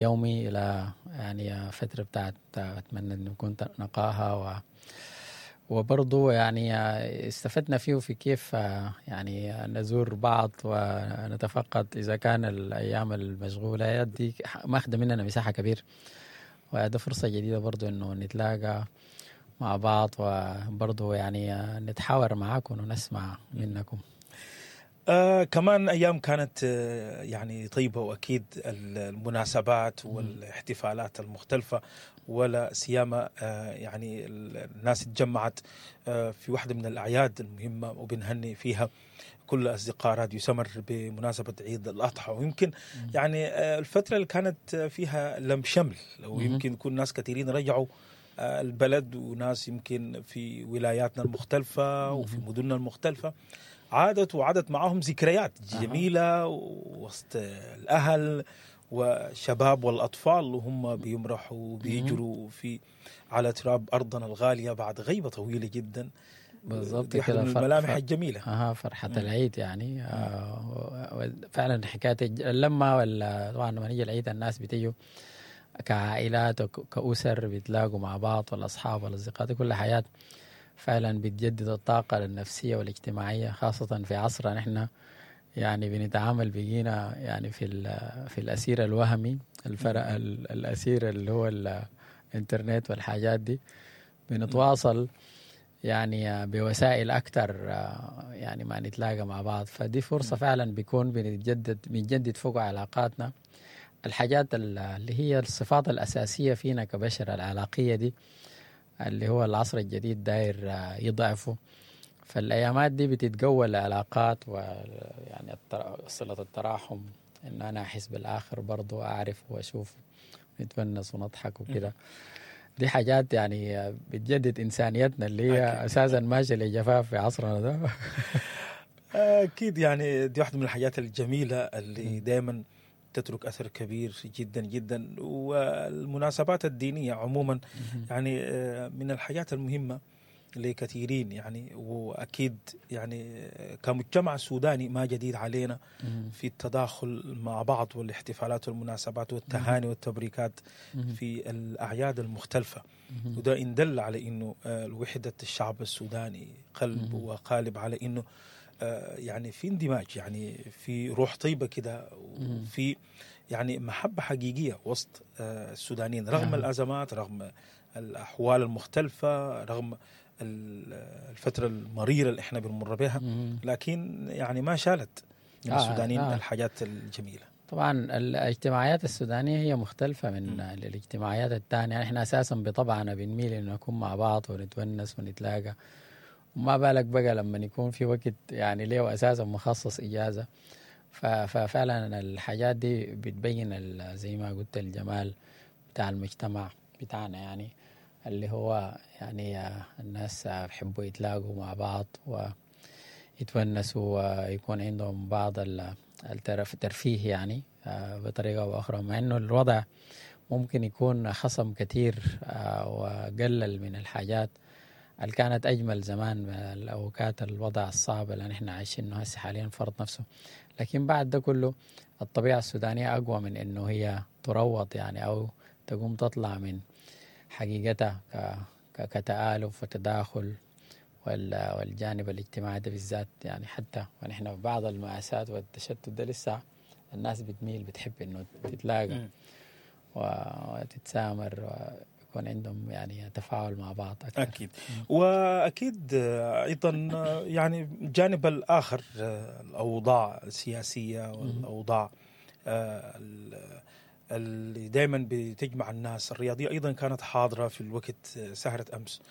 يومي الى يعني فترة بتاعت اتمنى انه يكون نقاهه وبرضو يعني استفدنا فيه في كيف يعني نزور بعض ونتفقد اذا كان الايام المشغولة دي ماخذة مننا مساحة كبير، وده فرصة جديدة برضو انه نتلاقى مع بعض وبرضو يعني نتحاور معاكم ونسمع منكم. كمان أيام كانت يعني طيبة، وأكيد المناسبات والاحتفالات المختلفة، ولا سيما يعني الناس اتجمعت في واحدة من الأعياد المهمة، وبنهني فيها كل أصدقاء راديو سمر بمناسبة عيد الأضحى. ويمكن يعني الفترة اللي كانت فيها لم شمل، ويمكن يكون ناس كثيرين رجعوا البلد، وناس يمكن في ولاياتنا المختلفة وفي مدننا المختلفة عادت، وعادت معهم ذكريات جميلة وسط الأهل والشباب والأطفال، وهم بيمرحوا وبيجروا في على تراب أرضنا الغالية بعد غيبة طويلة جدا. بالضبط. دي واحدة كده من الملامح الجميلة. فرحة العيد يعني فعلا حكاية اللمة، ولا طبعا لما يجي العيد الناس بتيجوا كعائلات وكأسر بيتلاقوا مع بعض، والأصحاب والأصدقاء، دي كل حياة فعلا بتجدد الطاقة النفسية والاجتماعية، خاصة في عصرنا نحن يعني بنتعامل بقينا يعني في الأسير الوهمي، الفرق الأسير اللي هو الإنترنت والحاجات دي، بنتواصل يعني بوسائل أكثر يعني ما نتلاقى مع بعض، فدي فرصة فعلا بيكون بنجدد فوق علاقاتنا، الحاجات اللي هي الصفات الأساسية فينا كبشر العلاقية دي اللي هو العصر الجديد داير يضعفه. فالأيامات دي بتتقوى العلاقات، ويعني صلة التراحم، إن أنا أحس بالآخر برضو، أعرف وأشوف، نتونس ونضحك وكده. دي حاجات يعني بتجدد إنسانيتنا اللي هي أساسا ماشية لجفاف في عصرنا ده. أكيد، يعني دي واحدة من الحاجات الجميلة اللي دائما تترك أثر كبير جدا جدا. والمناسبات الدينية عموما يعني من الحاجات المهمة لكثيرين يعني، وأكيد يعني كمجتمع سوداني ما جديد علينا في التداخل مع بعض والاحتفالات والمناسبات والتهاني والتبريكات في الأعياد المختلفة، وده إن دل على إنه وحدة الشعب السوداني قلب وقالب، على إنه يعني في اندماج، يعني في روح طيبة كده، وفي يعني محبة حقيقية وسط السودانيين رغم الأزمات، رغم الأحوال المختلفة، رغم الفترة المريرة اللي احنا بنمر بها، لكن يعني ما شالت من السودانيين الحاجات الجميلة. طبعا الاجتماعيات السودانية هي مختلفة من الاجتماعيات الثانية، يعني احنا أساسا بطبعنا بنميل إنه نكون مع بعض ونتونس ونتلاقى، وما بالك بقى لما يكون في وقت يعني ليه أساسا مخصص إجازة. ففعلا الحاجات دي بتبين زي ما قلت الجمال بتاع المجتمع بتاعنا، يعني اللي هو يعني الناس بيحبوا يتلاقوا مع بعض ويتونسوا ويكون عندهم بعض الترفيه يعني بطريقة أو أخرى، مع إنه الوضع ممكن يكون خصم كثير وقلل من الحاجات اللي كانت أجمل زمان، الأوقات الوضع الصعب اللي نحن عايشينه هسه حاليا فرض نفسه، لكن بعد ده كله الطبيعة السودانية أقوى من إنه هي تروض يعني أو تقوم تطلع من حقيقتها كتآلف وتداخل والجانب الاجتماعي ده بالذات، يعني حتى ونحن في بعض المآساة والتشتت ده لسه الناس بتميل بتحب إنه تتلاقى وتتسامر ويكون عندهم يعني تفاعل مع بعض أكثر. أكيد. وأكيد أيضا يعني الجانب الآخر، الأوضاع السياسية والأوضاع اللي دائما بتجمع الناس، الرياضية أيضا كانت حاضرة في الوقت سهرة أمس،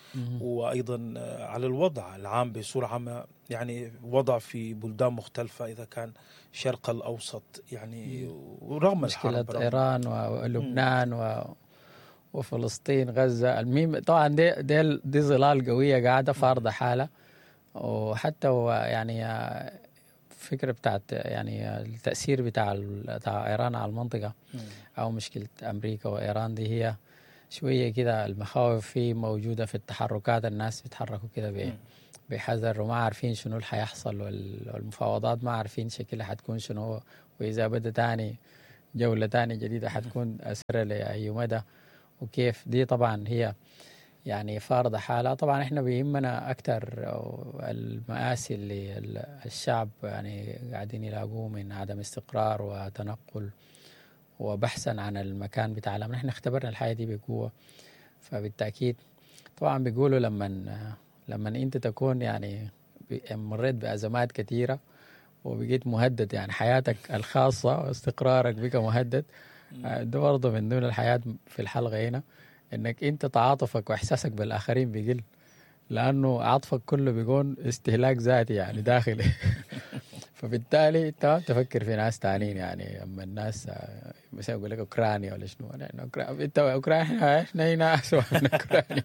وأيضا على الوضع العام بصورة عامة، يعني وضع في بلدان مختلفة إذا كان الشرق الأوسط يعني، ورغم مشكلة الحرب إيران ولبنان وفلسطين غزة، المهم طبعا دي ظلال قوية قاعدة فارضة حالة، وحتى يعني فكرة بتاعت يعني التأثير بتاع إيران على المنطقة أو مشكلة أمريكا وإيران دي هي شوية كده المخاوف في موجودة في التحركات، الناس بيتحركوا كده بحذر وما عارفين شنو اللي حيحصل، والمفاوضات ما عارفين شكلها حتكون شنو، وإذا بدأ تاني جولة تانية جديدة حتكون أثرها لأي مدى وكيف. دي طبعا هي يعني فارضة حالها. طبعا احنا بيهمنا أكثر المآسي اللي الشعب يعني قاعدين يلاقوه من عدم استقرار وتنقل وبحثا عن المكان بتاع الأمن. احنا اختبرنا الحياة دي بقوة، فبالتأكيد طبعا بيقولوا لما انت تكون يعني مريت بأزمات كثيرة وبقيت مهدد، يعني حياتك الخاصة واستقرارك بقى مهدد، ده برضه من ضمن الحياة في الحلقة هنا، انك انت تعاطفك واحساسك بالاخرين بيقل، لانه عاطفك كله بيكون استهلاك ذاتي يعني داخلي. فبالتالي انت تفكر في ناس تانيين، يعني اما الناس مثلا يقول لك اوكرانيا ولا شنو، انت اوكرانيا، احنا هنا اسوء من اوكرانيا،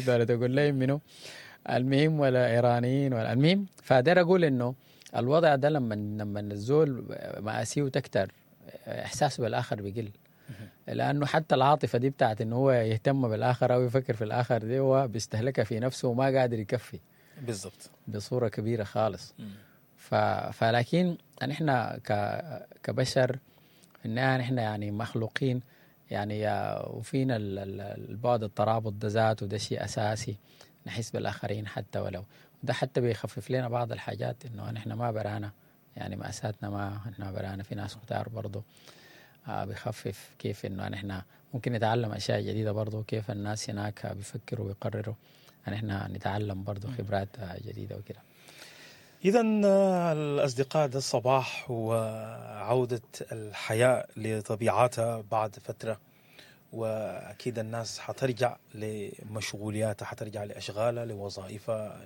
ولا تقول لي منو المهم، ولا ايرانيين ولا المهم. فداير اقول انه الوضع ده لما الزول مآسيه تكتر احساسه بالاخر بيقل، لانه حتى العاطفة دي بتاعت انه هو يهتم بالاخر او يفكر في الاخر دي هو بيستهلكها في نفسه وما قادر يكفي بالضبط بصورة كبيرة خالص. فلكن نحن كبشر في النهاية نحن يعني مخلوقين يعني، وفينا البعد الترابط ده ذاته، ده شيء اساسي، نحس بالاخرين حتى ولو ده حتى بيخفف لنا بعض الحاجات، انه نحن ما برانا يعني مأساتنا ما نحن برانا، في ناس كتار برضو. بيخفف كيف انه نحن ممكن نتعلم اشياء جديدة برضو، كيف الناس هناك بيفكروا ويقرروا، نحن نتعلم برضو خبرات جديدة وكده. اذا الاصدقاء، ده الصباح وعوده الحياة لطبيعتها بعد فترة، واكيد الناس حترجع لمشغولياتها، حترجع لاشغالها، لوظائفها،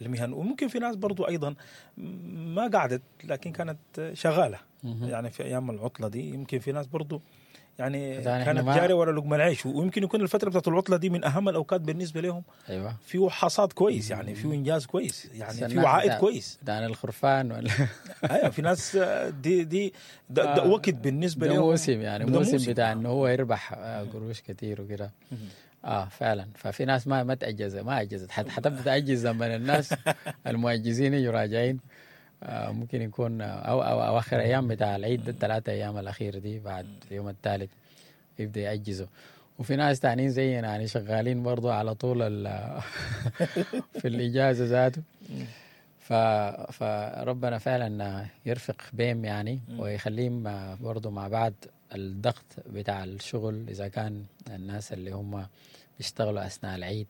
للمهن، وممكن في ناس برضو ايضا ما قعدت لكن كانت شغالة يعني في ايام العطلة دي، يمكن في ناس برضو يعني كانت جارية ورا لقمة العيش، ويمكن يكون الفترة بتاعت العطلة دي من اهم الاوقات بالنسبة لهم. ايوه، فيه حصاد كويس، يعني فيه انجاز كويس، يعني فيه عائد كويس. ده الخرفان ولا ايوه، في ناس دي ده, ده وقت بالنسبة لهم، ده موسم يعني موسم بتاع انه هو يربح قروش كتير وكده. فعلا. ففي ناس ما تأجز، ما اجزت، حتبدا تأجز لما الناس المؤجزين يجوا راجعين. ممكن يكون او اواخر ايام بتاع العيد ده، الثلاثة ايام الاخيرة دي بعد اليوم الثالث يبدا يأجزوا. وفي ناس تانيين زينا يعني شغالين برضو على طول في الاجازة ذاته. فربنا فعلا يرفق بهم يعني، ويخليهم برضو مع بعض الضغط بتاع الشغل، اذا كان الناس اللي هم بيشتغلوا اثناء العيد،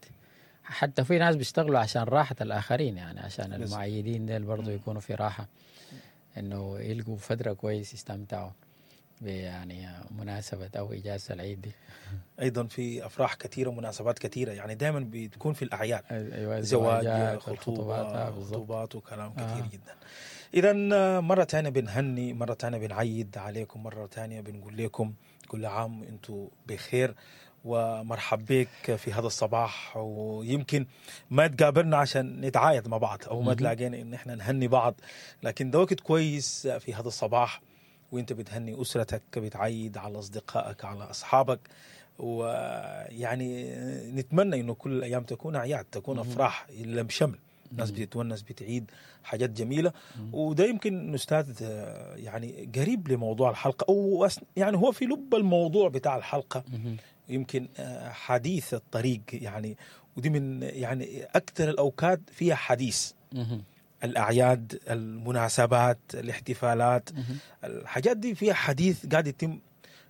حتى في ناس بيشتغلوا عشان راحة الآخرين، يعني عشان المعيدين ديل برضو يكونوا في راحة، إنه يلقوا فترة كويس يستمتعوا يعني مناسبة أو إجازة العيد دي. أيضا في أفراح كثيرة ومناسبات كثيرة، يعني دائما بتكون في الأعياد. أيوة، زواج، خطوبات وكلام كثير جدا. إذا مرة ثانية بنهني، مرة ثانية بنعيد عليكم، مرة ثانية بنقول لكم كل عام وأنتم بخير، ومرحب بك في هذا الصباح. ويمكن ما تقابلنا عشان نتعايد مع بعض او ما تلاقينا ان احنا نهني بعض، لكن ده وقت كويس في هذا الصباح وانت بتهني اسرتك، بتعيد على اصدقائك، على اصحابك. ويعني نتمنى انه كل الايام تكون اعياد، تكون افراح، لم شمل، الناس بتتونس، بتعيد حاجات جميلة. وده يمكن استاذ يعني قريب لموضوع الحلقة، او يعني هو في لب الموضوع بتاع الحلقة، يمكن حديث الطريق يعني، ودي من يعني اكثر الاوقات فيها حديث، الاعياد، المناسبات، الاحتفالات، الحاجات دي فيها حديث قاعد يتم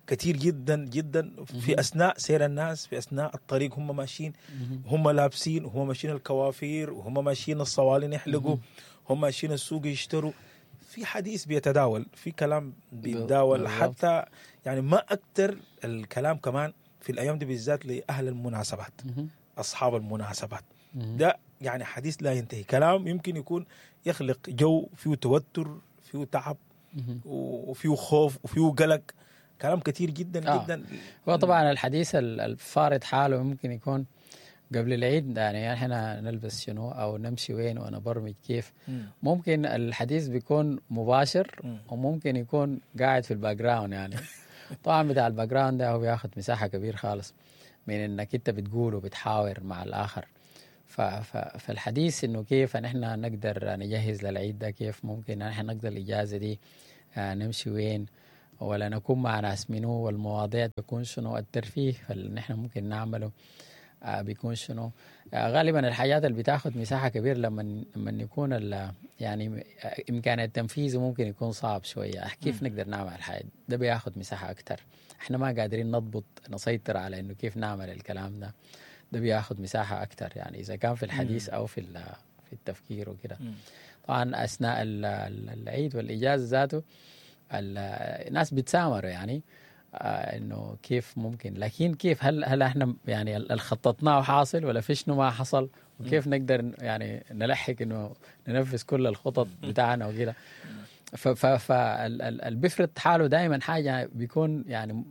كثير جدا جدا في اثناء سير الناس، في اثناء الطريق، هم ماشيين، هم لابسين، وهم ماشيين الكوافير، وهم ماشيين الصوالين يحلقوا، هم ماشيين السوق يشتروا، في حديث بيتداول، في كلام بيتداول، حتى يعني ما اكثر الكلام كمان في الايام دي بالذات لاهل المناسبات، اصحاب المناسبات، ده يعني حديث لا ينتهي، كلام يمكن يكون يخلق جو فيه توتر، فيه تعب، وفيه خوف، وفيه قلق، كلام كثير جدا جدا. هو طبعا الحديث الفارض حاله ممكن يكون قبل العيد، يعني احنا نلبس شنو او نمشي وين ونبرمج كيف. ممكن الحديث بيكون مباشر، وممكن يكون قاعد في ال background يعني. طبعا بتاع ال background ده هو بياخد مساحة كبير خالص من انك انت بتقول وبتحاور مع الاخر. فالحديث انه كيف نحن نقدر نجهز للعيد ده، كيف ممكن نحن نقدر الاجازة دي، نمشي وين، ولا نكون مع ناس منو، والمواضيع تكون شنو، الترفيه اللي نحن ممكن نعمله بيكون شنو. غالبا الحاجات اللي بتاخد مساحة كبيرة لما يكون يعني إمكانية تنفيذه ممكن يكون صعب شوية. كيف نقدر نعمل الحاجة ده بياخد مساحة أكتر. احنا ما قادرين نضبط نسيطر على إنه كيف نعمل الكلام ده، ده بياخد مساحة أكتر، يعني إذا كان في الحديث أو في التفكير وكده. طبعا أثناء العيد والإجازة ذاته الناس بتسامروا يعني انه كيف ممكن، لكن كيف هل احنا يعني اللي خططناه حاصل ولا في شنو ما حصل، وكيف نقدر يعني نلحق انه ننفذ كل الخطط بتاعنا وكده. فاللي بيفرض حاله دائما حاجة بيكون يعني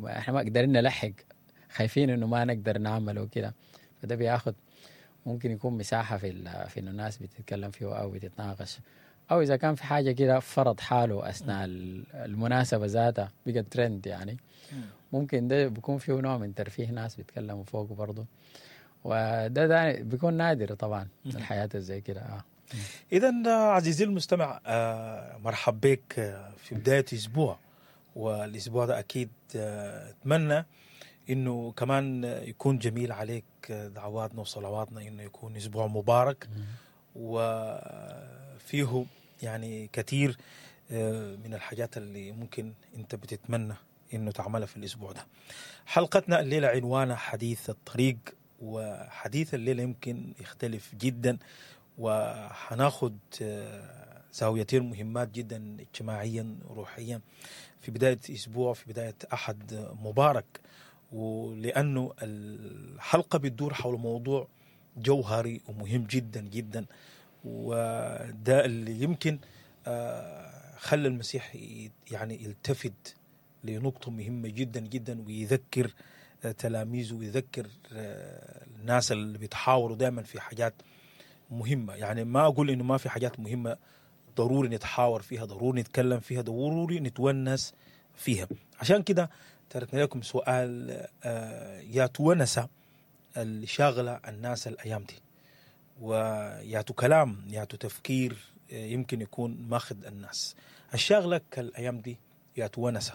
احنا ما قدرنا نلحق، خايفين انه ما نقدر نعمله وكده، فده بياخد ممكن يكون مساحة في انه الناس بتتكلم فيه او بتتناقش، أو إذا كان في حاجة كده فرض حاله أثناء المناسبة ذاتها بقى ترند يعني، ممكن ده بيكون فيه نوع من ترفيه، ناس بيتكلموا فوقه برضه، وده بيكون نادر طبعا الحياة زي كده. إذا عزيزي المستمع، مرحب بك في بداية أسبوع، والأسبوع ده أكيد أتمنى إنه كمان يكون جميل عليك. دعواتنا وصلواتنا إنه يكون أسبوع مبارك وفيه يعني كثير من الحاجات اللي ممكن انت بتتمنى انه تعملها في الاسبوع ده. حلقتنا الليلة عنوانها حديث الطريق، وحديث الليلة يمكن يختلف جدا، وحناخد زاويتين مهمات جدا اجتماعيا وروحيا في بداية اسبوع، في بداية احد مبارك، ولانه الحلقة بتدور حول موضوع جوهري ومهم جدا جدا، وده اللي يمكن خلى المسيح يعني يلتفت لنقطة مهمة جدا جدا، ويذكر تلاميذه ويذكر الناس اللي بيتحاوروا دائما في حاجات مهمة. يعني ما أقول إنه ما في حاجات مهمة ضروري نتحاور فيها، ضروري نتكلم فيها، ضروري نتونس فيها. عشان كده تركنا لكم سؤال، يا تونسة اللي شاغلة الناس الأيام دي، وياتو كلام ياتو تفكير يمكن يكون ماخذ الناس الشاغلك الأيام دي، ياتو ونسة،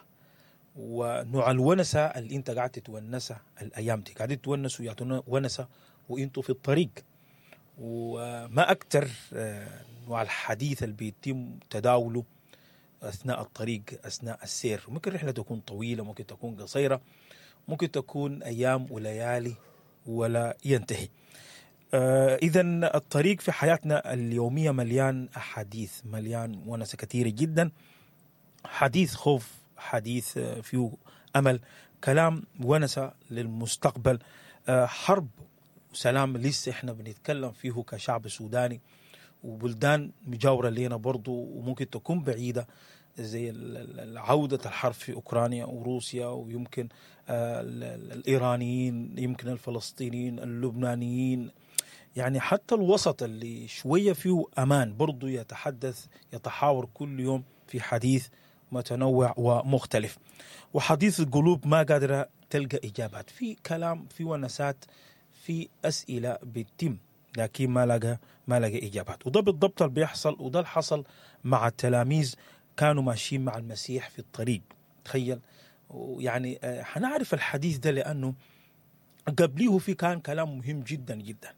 ونوع الونسة اللي انت قاعد تتونسه الأيام دي، قاعد تتونسوا ياتو ونسة وانتوا في الطريق. وما أكتر نوع الحديث اللي بيتم تداوله أثناء الطريق، أثناء السير. ممكن رحلة تكون طويلة، ممكن تكون قصيرة، ممكن تكون أيام وليالي ولا ينتهي. إذا الطريق في حياتنا اليومية مليان أحاديث، مليان ونسة كثيرة جدا، حديث خوف، حديث فيه أمل، كلام ونسة للمستقبل، حرب وسلام لسه إحنا بنتكلم فيه كشعب سوداني، وبلدان مجاورة لنا برضو وممكن تكون بعيدة، زي عودة الحرب في أوكرانيا وروسيا، ويمكن الإيرانيين، يمكن الفلسطينيين، اللبنانيين، يعني حتى الوسط اللي شوية فيه أمان برضو يتحدث، يتحاور كل يوم في حديث متنوع ومختلف، وحديث القلوب ما قادرة تلقى إجابات، في كلام، في ونسات، في أسئلة بتتم لكن ما لقى إجابات. وده بالضبط اللي بيحصل، وده اللي حصل مع التلاميذ، كانوا ماشيين مع المسيح في الطريق. تخيل، يعني حنعرف الحديث ده لأنه قبليه في كان كلام مهم جدا جدا،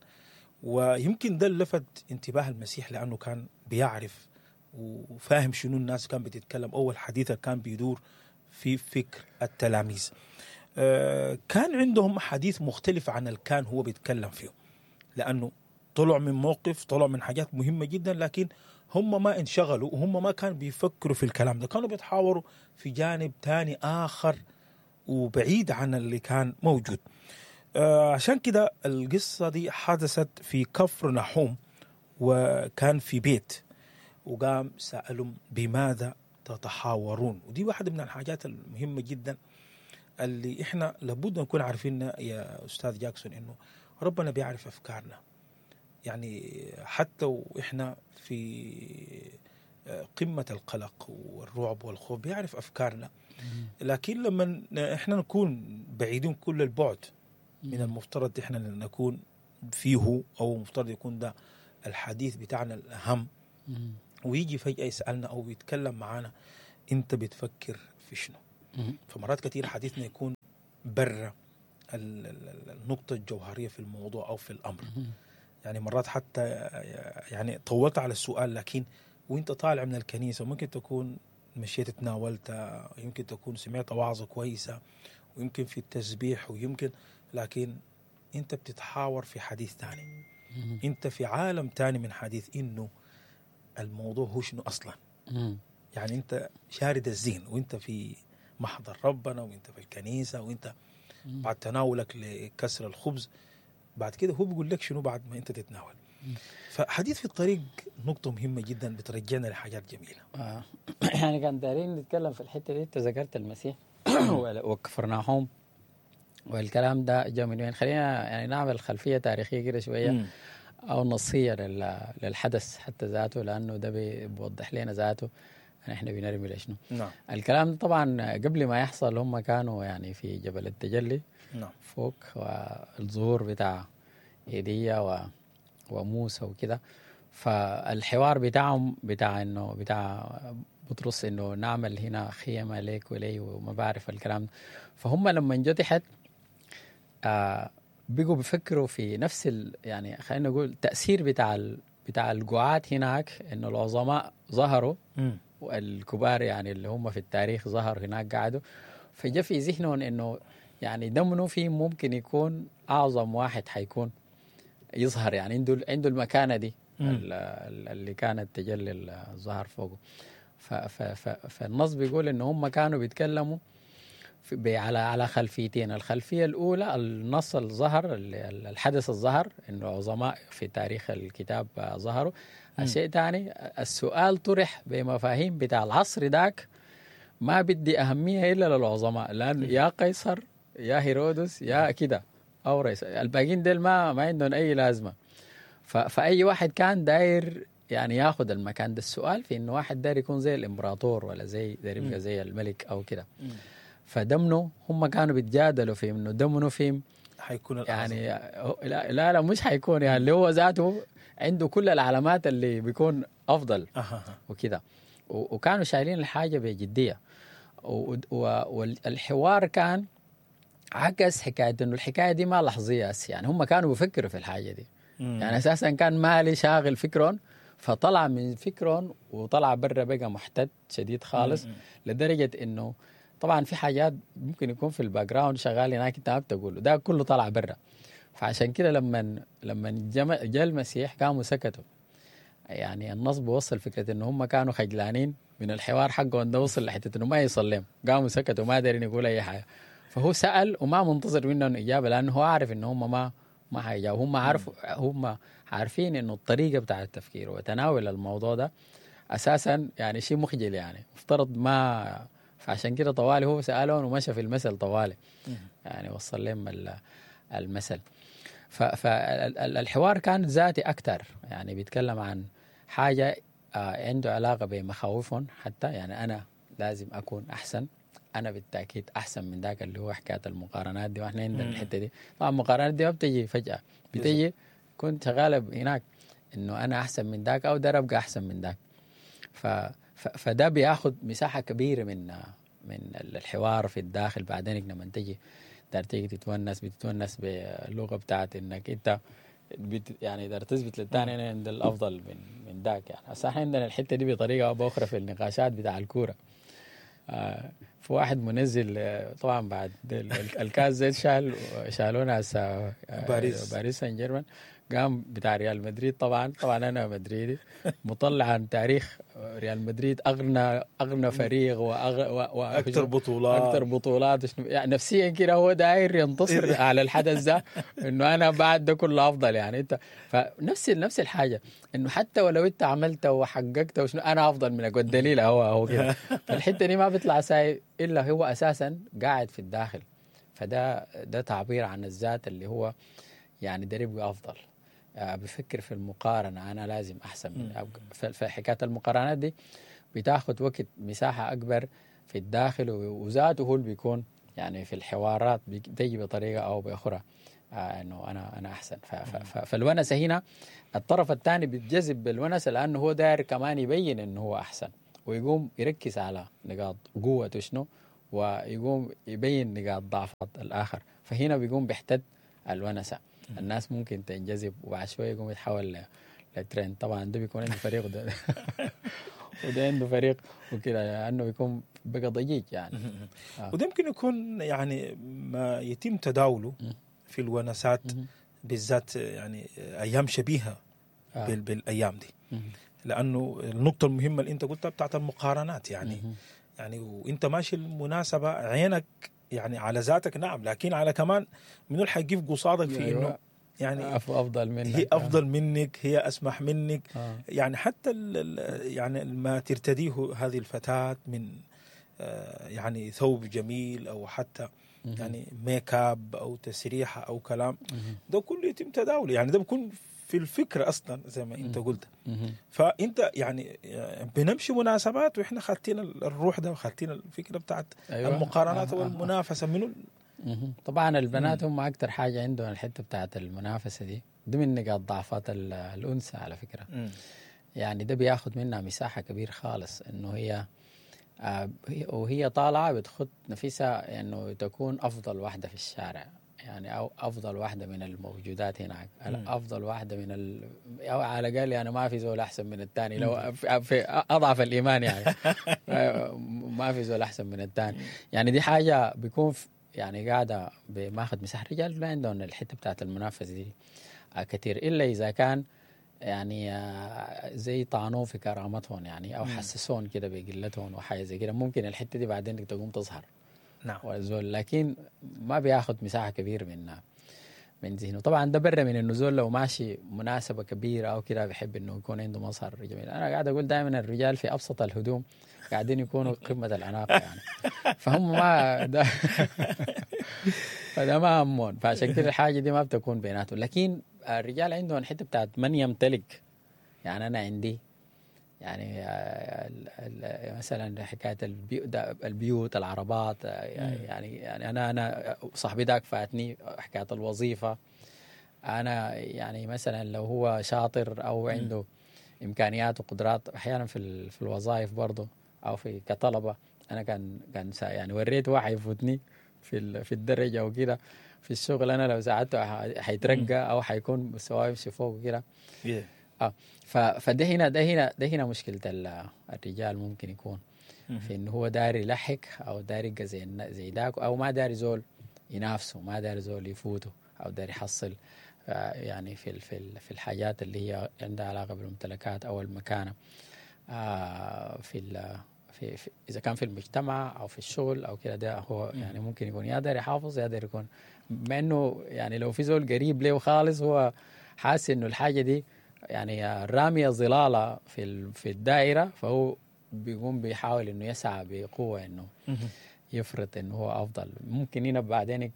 ويمكن ده اللي لفت انتباه المسيح لأنه كان بيعرف وفاهم شنو الناس كان بتتكلم. أول حديثة كان بيدور في فكر التلاميذ، كان عندهم حديث مختلف عن اللي كان هو بيتكلم فيه، لأنه طلع من موقف، طلع من حاجات مهمة جدا، لكن هم ما انشغلوا وهم ما كانوا بيفكروا في الكلام ده، كانوا بيتحاوروا في جانب تاني آخر وبعيد عن اللي كان موجود. عشان كده القصة دي حدثت في كفر نحوم، وكان في بيت، وقام سألهم بماذا تتحاورون. ودي واحدة من الحاجات المهمة جدا اللي إحنا لابد نكون عارفين يا أستاذ جاكسون، إنه ربنا بيعرف أفكارنا، يعني حتى وإحنا في قمة القلق والرعب والخوف بيعرف أفكارنا، لكن لما إحنا نكون بعيدين كل البعد من المفترض إحنا نكون فيه، أو المفترض يكون ده الحديث بتاعنا الأهم، ويجي فجأة يسألنا أو يتكلم معنا أنت بتفكر في شنو. فمرات كثير حديثنا يكون برا النقطة الجوهرية في الموضوع أو في الأمر. يعني مرات حتى يعني طولت على السؤال، لكن وانت طالع من الكنيسة ممكن تكون مشيت تناولت، يمكن تكون سمعت وعظة كويسة، ويمكن في التسبيح، ويمكن، لكن انت بتتحاور في حديث تاني، انت في عالم تاني من حديث انه الموضوع هو شنو اصلا. يعني انت شارد الذهن وانت في محضر ربنا وانت في الكنيسة وانت بعد تناولك لكسر الخبز، بعد كده هو بيقول لك شنو بعد ما انت تتناول. فحديث في الطريق نقطة مهمة جدا بترجعنا لحاجات جميلة. يعني كان دارين نتكلم في الحتة دي. انت ذكرت المسيح وكفرناهم والكلام ده جاء من وين. خلينا يعني نعمل خلفية تاريخية كده شوية أو نصية للحدث حتى ذاته، لأنه ده بيوضح لنا ذاته نحن بنرمي لشنو. نعم. الكلام طبعا قبل ما يحصل هم كانوا يعني في جبل التجلي. نعم. فوق، والظهور بتاع ايليا وموسى وكده. فالحوار بتاعهم بتاع انه بتاع بطرس انه نعمل هنا خيمة ليك ولي وما بعرف الكلام. فهم لما جو تحت بقوا بيفكروا في نفس يعني خلينا نقول التأثير بتاع القعاد هناك، انه العظماء ظهروا والكبار يعني اللي هم في التاريخ ظهروا هناك قعدوا. فجاء في ذهنهم انه يعني دمنه في ممكن يكون اعظم واحد حيكون يظهر، يعني عنده المكانة دي اللي كانت تجلي الظهر فوقه. فالنص بيقول ان هم كانوا بيتكلموا على خلفيتين. الخلفية الاولى النص الظهر، الحدث الظهر انه عظماء في تاريخ الكتاب ظهروا. الشيء الثاني السؤال طرح بمفاهيم بتاع العصر داك ما بدي اهمية الا للعظماء، لان يا قيصر يا هيرودس يا كده او رئيس، الباقيين ديل ما عندهم اي لازمه. فاي واحد كان داير يعني ياخذ المكان ده. السؤال في انه واحد داير يكون زي الامبراطور ولا زي داير يبقى زي الملك او كده. فدمنه هم كانوا بيتجادلوا في انه دمنه في حيكون الأعظم. يعني لا لا مش حيكون، يعني اللي هو ذاته عنده كل العلامات اللي بيكون افضل وكده. وكانوا شايلين الحاجة بجدية، والحوار كان عكس حكاية انه الحكاية دي ما لحظيه، يعني هم كانوا بيفكروا في الحاجة دي. يعني اساسا كان مالي شاغل فكرهم، فطلع من فكرهم وطلع برا بقى محتد شديد خالص. لدرجة انه طبعا في حاجات ممكن يكون في ال background شغال هناك انت ما بتقوله، ده كله طلع برا. فعشان كده لما جاء المسيح قاموا سكتوا. يعني النص بوصل فكرة انه هم كانوا خجلانين من الحوار حقهم ده، وصل لحته انه ما يصلم، قاموا سكتوا ما دارين يقول اي حاجة. فهو سأل وما منتظر منهم اجابه، لانه هو عارف انه هم ما حيجاوبوا. هم عارفوا، هم عارفين انه الطريقة بتاع التفكير وتناول الموضوع ده اساسا يعني شيء مخجل، يعني مفترض ما. فعشان كده طوالي هو سألهم ومشى في المثل طوالي، يعني وصل لهم المثل. فالحوار كان ذاتي أكتر، يعني بيتكلم عن حاجة عنده علاقة بمخاوفهم حتى. يعني أنا لازم أكون أحسن، أنا بالتأكيد أحسن من ذاك، اللي هو حكاية المقارنات دي. وإحنا عندنا الحتة دي طبعا المقارنات دي ما بتجي فجأة، بتجي كنت شغالة هناك إنه أنا أحسن من ذاك أو ده أبقى أحسن من ذاك. فده بياخد مساحة كبيرة من الحوار في الداخل. بعدين لما تجي دار تيجي تتونس، بتتونس باللغة بتاعت انك انت يعني دار تثبت للثاني انا عند الافضل من ذاك. يعني هسه احنا عندنا الحتة دي بطريقة او باخرى في النقاشات بتاع الكورة. في واحد منزل طبعا بعد الكاس زي شالونا هسه باريس سان جيرمان، قام بتاع ريال مدريد. طبعا انا مدريدي، مطلع عن تاريخ ريال مدريد اغنى فريق واكثر بطولات، اكثر بطولات. يعني نفسيا كده هو داير ينتصر على الحدث ده انه انا بعد ده كله افضل. يعني انت فنفس نفس الحاجة، انه حتى ولو انت عملت وحققت وشنو انا افضل منك، والدليل هو كده. فالحته دي ما بيطلع ساي الا هو اساسا قاعد في الداخل. فده ده تعبير عن الذات اللي هو يعني ده يبقى افضل. بفكر في المقارنة، أنا لازم أحسن من. فحكاية المقارنات دي بتاخد وقت، مساحة أكبر في الداخل، وذاته هو اللي بيكون يعني في الحوارات بتيجي بطريقة أو بأخرى إنه أنا أحسن. فالونسة هنا الطرف الثاني بيتجذب بالونسة لأنه هو داير كمان يبين إنه هو أحسن. ويقوم يركز على نقاط قوته شنو، ويقوم يبين نقاط ضعف الاخر. فهنا بيقوم بيحتد الونسه، الناس ممكن تنجذب، وبعد شوية يقوم يتحول لترند. طبعا ده بيكون عنده فريق وده وده عنده فريق وكده، لانه بيكون بقى ضجيج يعني. وده يمكن يكون يعني ما يتم تداوله في الونسات بالذات، يعني ايام شبيهه بالايام دي، لانه النقطة المهمة اللي انت قلتها بتاعت المقارنات، يعني يعني وانت ماشي المناسبة عينك يعني على ذاتك، نعم، لكن على كمان منو اللي حيقف قصادك في انه يعني افضل منك، هي افضل منك، هي اسمح منك. يعني حتى يعني ما ترتديه هذه الفتاة من يعني ثوب جميل او حتى يعني ميك اب او تسريحه او كلام، ده كله يتم تداوله، يعني ده بيكون في الفكرة اصلا زي ما انت قلت. فانت يعني بنمشي مناسبات واحنا خاتين الروح ده وخاتين الفكرة بتاعت المقارنات والمنافسه منو. طبعا البنات هم اكثر حاجة عندهم الحتة بتاعت المنافسة دي، دي من نقاط ضعفات الانثى على فكرة. يعني ده بياخد منها مساحة كبير خالص، انه هي وهي طالعه بتخط نفسها انه تكون افضل واحدة في الشارع، يعني او افضل واحدة من الموجودات هناك، افضل واحدة من او على الاقل يعني ما في زول احسن من الثاني، لو في اضعف الايمان يعني ما في زول احسن من الثاني. يعني دي حاجة بيكون يعني قاعدة بماخذ مساحة. الرجال ما عندهم الحتة بتاعت المنافسة دي كثير، الا اذا كان يعني زي طعنوه في كرامتهم يعني، او حسسون كده بقلتهم وحاجه زي كده، ممكن الحتة دي بعدين تقوم تظهر. نعم. والزول لكن ما بياخد مساحة كبيرة من ذهنه. طبعا ده برا من انه زول لو ماشي مناسبة كبيرة او كده بيحب انه يكون عنده مظهر جميل. انا قاعد اقول دائما الرجال في ابسط الهدوم قاعدين يكونوا قمة الاناقة يعني، فهم ما ده فده ما همون، فعشان كده الحاجة دي ما بتكون بيناتهم. لكن الرجال عندهم الحتة بتاعت من يمتلك، يعني انا عندي يعني مثلا حكاية البيوت، العربات، يعني انا صاحبي داك فاتني حكاية الوظيفة. انا يعني مثلا لو هو شاطر او عنده امكانيات وقدرات احيانا في الوظائف برضه او في كطلبه، انا كان يعني وريت واحد يفوتني في الدرجة وكده في الشغل، انا لو ساعدته حيترقى او حيكون مستواه يمشي فوق وكده. فده هنا ده هنا ده هنا مشكلة الرجال، ممكن يكون في انه هو داري يلحق او داري يبقى زي داك، او ما داري زول ينافسه، ما داري زول يفوته، او داري يحصل يعني في في في الحاجات اللي هي عندها علاقة بالممتلكات او المكانة في في اذا كان في المجتمع او في الشغل او كده. ده هو يعني ممكن يكون يا داري يحافظ يا داري يكون، مع انه يعني لو في زول قريب له خالص هو حاسس انه الحاجة دي يعني رامية ظلالة في الدائرة، فهو بيقوم بيحاول انه يسعى بقوة انه يفرض انه هو افضل. ممكن هنا بعدين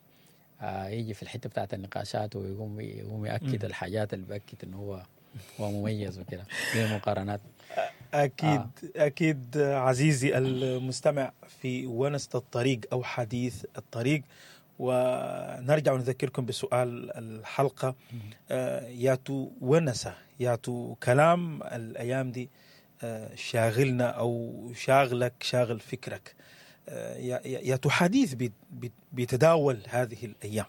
يجي في الحتة بتاعت النقاشات ويقوم يأكد الحاجات اللي بأكد انه هو مميز وكده، زي مقارنات. اكيد اكيد عزيزي المستمع في ونسة الطريق او حديث الطريق، ونرجع ونذكركم بسؤال الحلقة، ياتو ونسة ياتو كلام الأيام دي شاغلنا أو شاغلك، شاغل فكرك، ياتو حديث بيتداول هذه الأيام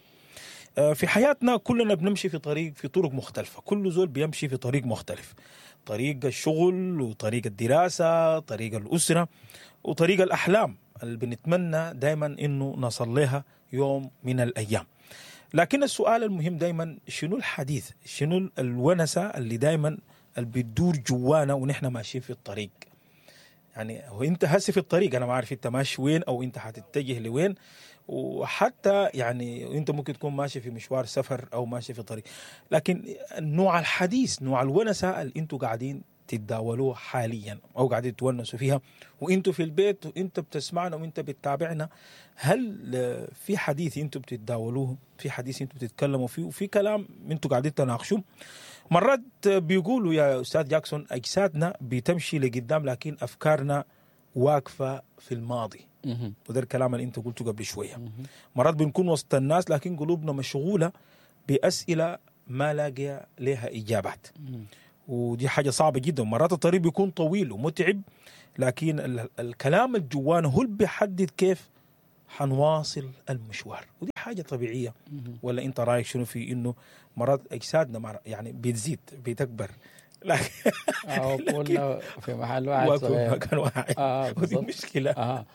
في حياتنا. كلنا بنمشي في طريق، في طرق مختلفة، كل زول بيمشي في طريق مختلف، طريق الشغل وطريق الدراسة، طريق الأسرة وطريق الأحلام اللي بنتمنى دايما إنه نصل لها يوم من الأيام. لكن السؤال المهم دايما، شنو الحديث، شنو الونسة اللي دايما اللي بتدور جوانا ونحن ماشيين في الطريق؟ يعني هو انت هسه في الطريق، انا ما عارف انت ماشي وين او انت هتتجه لوين، وحتى يعني انت ممكن تكون ماشي في مشوار سفر او ماشي في طريق، لكن نوع الحديث، نوع الونسة اللي انتوا قاعدين تتداولوه حاليا او قاعدين تونسوا فيها وانتوا في البيت وانت بتسمعنا وانت بتتابعنا، هل في حديث انتوا بتتداولوه، في حديث انتوا بتتكلموا فيه، وفي كلام انتوا قاعدين تناقشوه؟ مرات بيقولوا يا استاذ جاكسون اجسادنا بتمشي لقدام لكن افكارنا واقفة في الماضي، وده الكلام اللي انت قلته قبل شوية. مرات بنكون وسط الناس لكن قلوبنا مشغولة باسئلة ما لاقيه لها اجابات. ودي حاجة صعبة جدا. مرات الطريق بيكون طويل ومتعب، لكن الكلام الجوانا هو اللي بيحدد كيف حنواصل المشوار، ودي حاجة طبيعية. ولا انت رايك شنو في انه مرات اجسادنا يعني بتزيد بتكبر، لكن كنا في محل واحد في مكان واحد، ودي مشكلة.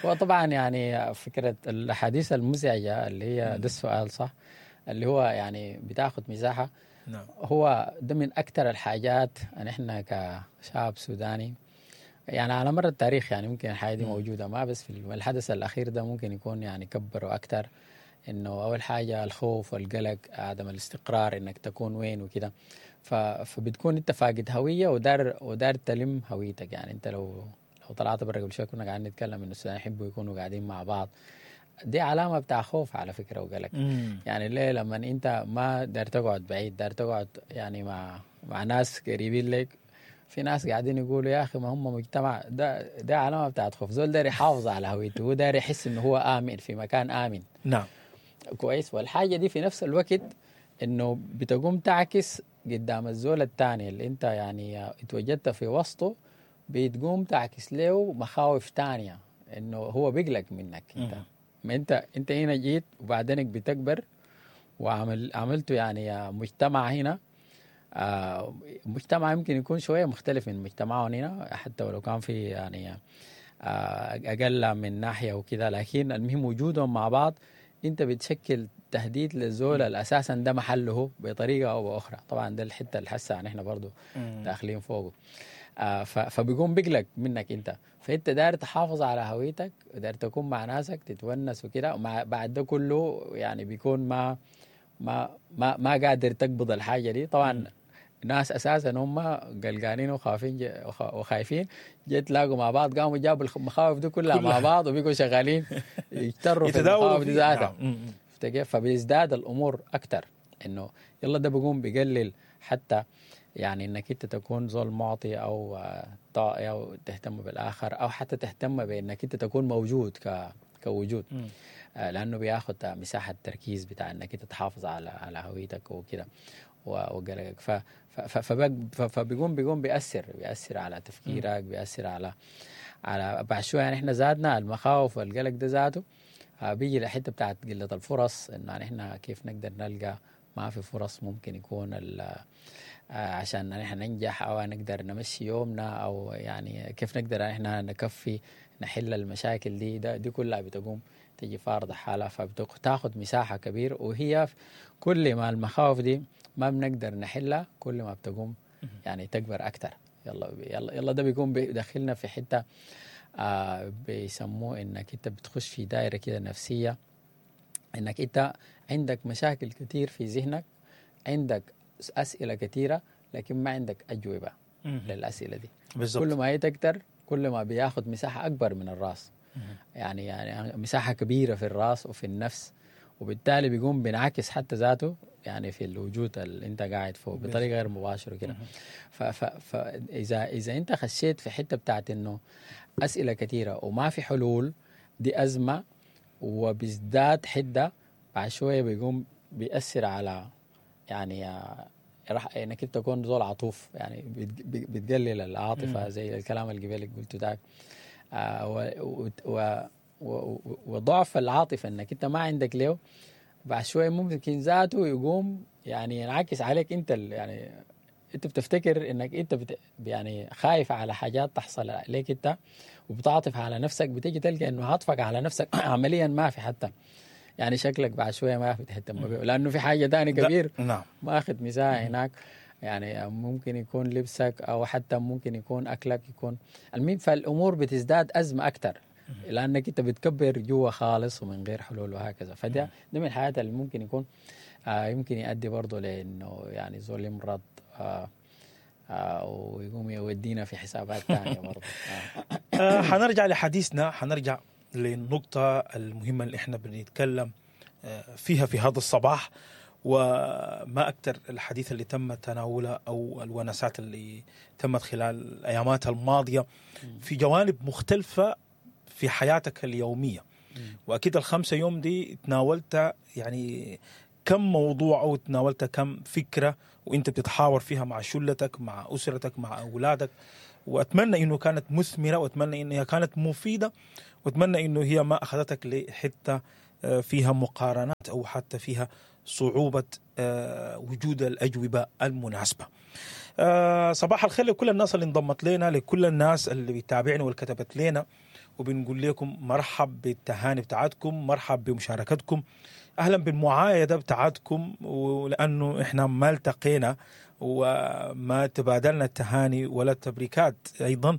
وطبعا يعني فكرة الاحاديث المزعجة اللي هي ده السؤال صح، اللي هو يعني بتاخد مساحة. نعم. هو ده من اكثر الحاجات ان احنا كشعب سوداني يعني على مر التاريخ، يعني ممكن الحاجة دي موجودة، ما بس في الحدث الاخير ده ممكن يكون يعني كبروا اكثر. انه اول حاجة الخوف والقلق، عدم الاستقرار، انك تكون وين وكده، فبتكون انت فاقد هوية ودار تلم هويتك. يعني انت لو طلعت برا قبل شوية كنا قاعدين نتكلم انه السودانيين يحبوا يكونوا قاعدين مع بعض، دي علامة بتاع خوف على فكرة وقلق. يعني ليه لما انت ما دار تقعد بعيد، دار تقعد يعني مع ناس قريبين لك، في ناس قاعدين يقولوا يا اخي ما هم مجتمع، ده علامة بتاعت خوف. زول داير يحافظ على هويته، هو داير يحس انه هو امن في مكان امن. نعم كويس. والحاجة دي في نفس الوقت انه بتقوم تعكس قدام الزول الثاني اللي انت يعني اتوجدت في وسطه، بتقوم تعكس له مخاوف تانية انه هو بيقلق منك انت. ما انت هنا جيت وبعدينك بتكبر وعملته يعني مجتمع هنا، مجتمع يمكن يكون شوية مختلف من مجتمعهم هنا، حتى ولو كان في يعني اقل من ناحية وكذا، لكن المهم وجودهم مع بعض انت بتشكل تهديد للزول الاساسا ده محله بطريقة او باخرى. طبعا ده الحتة اللي حاسه يعني احنا برضو داخلين فوقه. فبيقوم بيقلق منك انت، فانت داير تحافظ على هويتك، داير تكون مع ناسك تتونس وكده، ومع بعد ده كله يعني بيكون ما ما ما ما قادر تقبض الحاجة دي. طبعا ناس اساسا هم قلقانين وخايفين وخايفين، جيت تلاقوا مع بعض قاموا جابوا المخاوف دي كلها مع بعض وبيقوا شغالين يجتروا في المخاوف دي ذاتها. فبيزداد الامور اكثر، انه يلا ده بيقوم بيقلل حتى يعني انك انت تكون زول معطي او او تهتم بالاخر، او حتى تهتم بانك انت تكون موجود كوجود، لانه بياخذ مساحة تركيز بتاع انك انت تحافظ على هويتك وكده وقلقك. فبيقوم بيأثر على تفكيرك، بيأثر على بعد شوية. يعني احنا زادنا المخاوف والقلق ده ذاته بيجي لحته بتاعت قلة الفرص، انه يعني احنا كيف نقدر نلقى، ما في فرص ممكن يكون عشان نحن ننجح او نقدر نمشي يومنا، او يعني كيف نقدر احنا نكفي نحل المشاكل دي. دي كلها بتقوم تجي فارضة حالها، فبتاخد مساحة كبيرة، وهي كل ما المخاوف دي ما بنقدر نحلها كل ما بتقوم يعني تكبر أكتر. يلا يلا يلا ده بيكون بيدخلنا في حتة بيسموه إنك أنت بتخش في دائرة كده نفسية، إنك أنت عندك مشاكل كتير في ذهنك، عندك أسئلة كتيرة لكن ما عندك أجوبة للأسئلة دي. بالزبط. كل ما هي تكتر كل ما بياخد مساحة أكبر من الرأس، يعني مساحة كبيرة في الرأس وفي النفس، وبالتالي بيقوم بينعكس حتى ذاته يعني في الوجود اللي انت قاعد فوق بطريقة غير مباشرة كده. فإذا إذا انت خشيت في حتة بتاعت انه أسئلة كثيرة وما في حلول، دي أزمة وبيزداد حدة بعد شوية، بيقوم بيأثر على يعني راح انك انت تكون زول عطوف، يعني بتقلل العاطفة زي الكلام اللي قبلك قلته داك، وضعف العاطفة انك انت ما عندك له بعد شوية ممكن ذاته يقوم يعني ينعكس عليك انت، يعني انت بتفتكر انك انت يعني خايف على حاجات تحصل عليك انت وبتعاطف على نفسك، بتيجي تلقى انه عاطفك على نفسك عمليا ما في، حتى يعني شكلك بعد شوية ما في تهتم به لانه في حاجة ثانية كبير ما اخذ مساحة هناك، يعني ممكن يكون لبسك او حتى ممكن يكون اكلك يكون المهم. فالامور بتزداد ازمة اكثر لانك انت بتكبر جوا خالص ومن غير حلول وهكذا. فده ده من الحاجات اللي ممكن يكون يمكن يؤدي برضه لانه يعني زول يمرض ويقوم يودينا في حسابات ثانية برضه. حنرجع لحديثنا، حنرجع للنقطة المهمة اللي احنا بنتكلم فيها في هذا الصباح، وما أكثر الحديث اللي تم تناوله أو الونسات اللي تمت خلال الأيامات الماضية في جوانب مختلفة في حياتك اليومية. وأكيد ال5 يوم دي تناولت يعني كم موضوع او تناولت كم فكرة وانت بتتحاور فيها مع شلتك، مع اسرتك، مع اولادك. واتمنى انه كانت مثمرة، واتمنى انها كانت مفيدة، واتمنى انه هي ما اخذتك لحته فيها مقارنات او حتى فيها صعوبة وجود الاجوبة المناسبة. صباح الخير لكل الناس اللي انضمت لنا، لكل الناس اللي بتتابعنا واللي كتبت لنا، وبنقول لكم مرحب بالتهاني بتاعتكم، مرحب بمشاركتكم، اهلا بالمعايده بتاعتكم. ولانه احنا ما التقينا وما تبادلنا التهاني ولا التبريكات ايضا،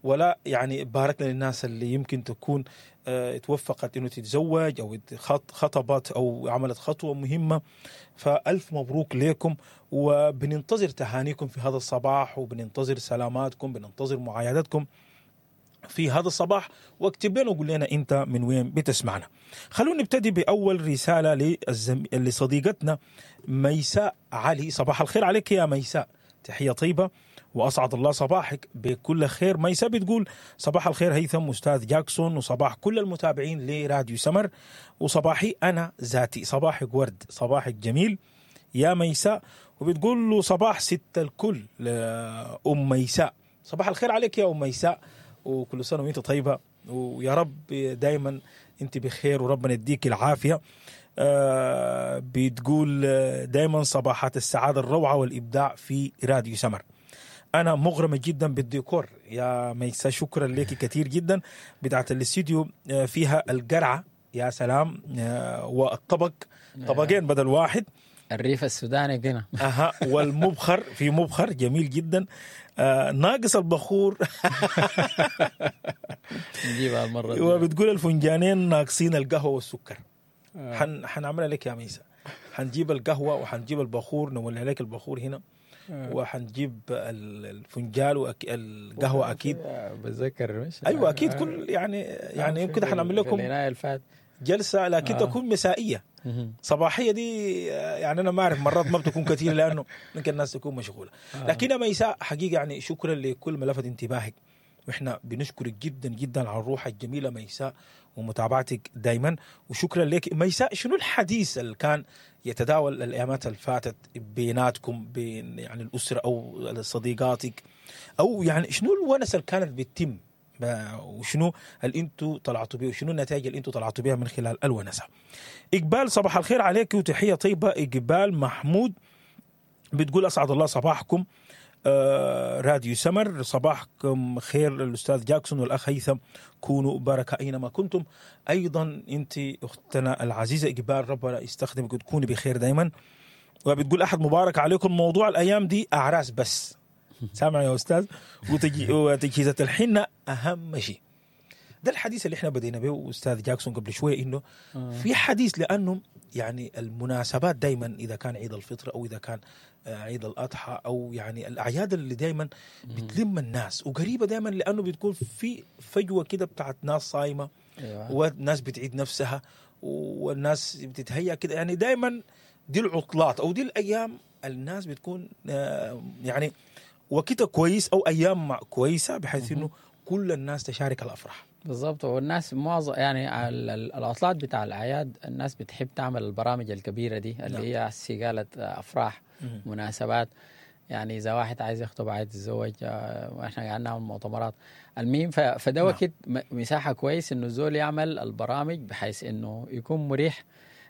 ولا يعني باركنا للناس اللي يمكن تكون توفقت انه تتزوج او خطبت او عملت خطوة مهمة، فالف مبروك لكم. وبننتظر تهانيكم في هذا الصباح، وبننتظر سلاماتكم، بننتظر معايدتكم في هذا الصباح. واكتب لنا وقول لنا انت من وين بتسمعنا. خلونا نبتدي باول رسالة لصديقتنا ميساء علي. صباح الخير عليك يا ميساء، تحية طيبة واسعد الله صباحك بكل خير. ميساء بتقول صباح الخير هيثم استاذ جاكسون، وصباح كل المتابعين لراديو سمر، وصباحي انا ذاتي. صباحك ورد، صباحك جميل يا ميساء. وبتقول له صباح ست الكل لأم ميساء. صباح الخير عليك يا أم ميساء، وكل سنة وانت طيبة، ويا رب دايما انت بخير وربنا يديك العافية. بتقول دايما صباحات السعادة الروعة والإبداع في راديو سمر. أنا مغرمة جدا بالديكور يا ميساء، شكرا لك كثير جدا. بتاعت الاستديو فيها القرعة، يا سلام، والطبق طبقين بدل واحد، الريف السوداني كده. اها، والمبخر، في مبخر جميل جدا، ناقص البخور. نجيبها المرة دي. وبتقول الفنجانين ناقصين القهوة والسكر. حنعملها لك يا ميسا، حنجيب القهوة وحنجيب البخور، نولع لك البخور هنا، وحنجيب الفنجال والقهوة اكيد. بتذكر مش؟ ايوه اكيد، كل يعني كده حنعمل لكم جلسه، لكن تكون مسائية. صباحية دي يعني انا ما اعرف، مرات ما بتكون كثير لانه ممكن الناس تكون مشغولة. لكن ميساء حقيقة يعني شكرا لكل ما لفت انتباهك، واحنا بنشكرك جدا جدا على الروح الجميلة ميساء ومتابعتك دايما، وشكرا لك ميساء. شنو الحديث اللي كان يتداول الايامات اللي فاتت بيناتكم، بين يعني الاسرة او صديقاتك، او يعني شنو الونسه اللي كانت بتتم، وشنو اللي انتوا طلعتوا بيه، وشنو النتائج اللي انتوا طلعتوا بيها من خلال الونسه؟ اقبال صباح الخير عليك وتحية طيبة. اقبال محمود بتقول اسعد الله صباحكم راديو سمر، صباحكم خير الاستاذ جاكسون والاخ هيثم، كونوا بركة اينما كنتم. ايضا انت اختنا العزيزة اقبال، ربنا يستخدمك وتكوني بخير دايما. وبتقول احد مبارك عليكم، موضوع الايام دي اعراس بس، سامع يا استاذ، وتجهيزات الحنة اهم شيء. ده الحديث اللي احنا بدينا به استاذ جاكسون قبل شوية، انه في حديث، لانه يعني المناسبات دايما اذا كان عيد الفطر او اذا كان عيد الاضحى او يعني الاعياد اللي دايما بتلم الناس وقريبه دايما، لانه بتكون في فجوة كده بتاعت ناس صايمه وناس بتعيد نفسها والناس بتتهيأ كده، يعني دايما دي العطلات او دي الايام الناس بتكون يعني وقتها كويس او ايام كويسة، بحيث انه كل الناس تشارك الافراح. بالضبط. والناس معظم يعني العطلات بتاع الاعياد الناس بتحب تعمل البرامج الكبيرة دي اللي هي سيقالة افراح، مناسبات. يعني اذا واحد عايز يخطب، عايز يتزوج، واحنا قاعدين نعمل مؤتمرات. المهم فده وقت مساحة كويس انه الزول يعمل البرامج بحيث انه يكون مريح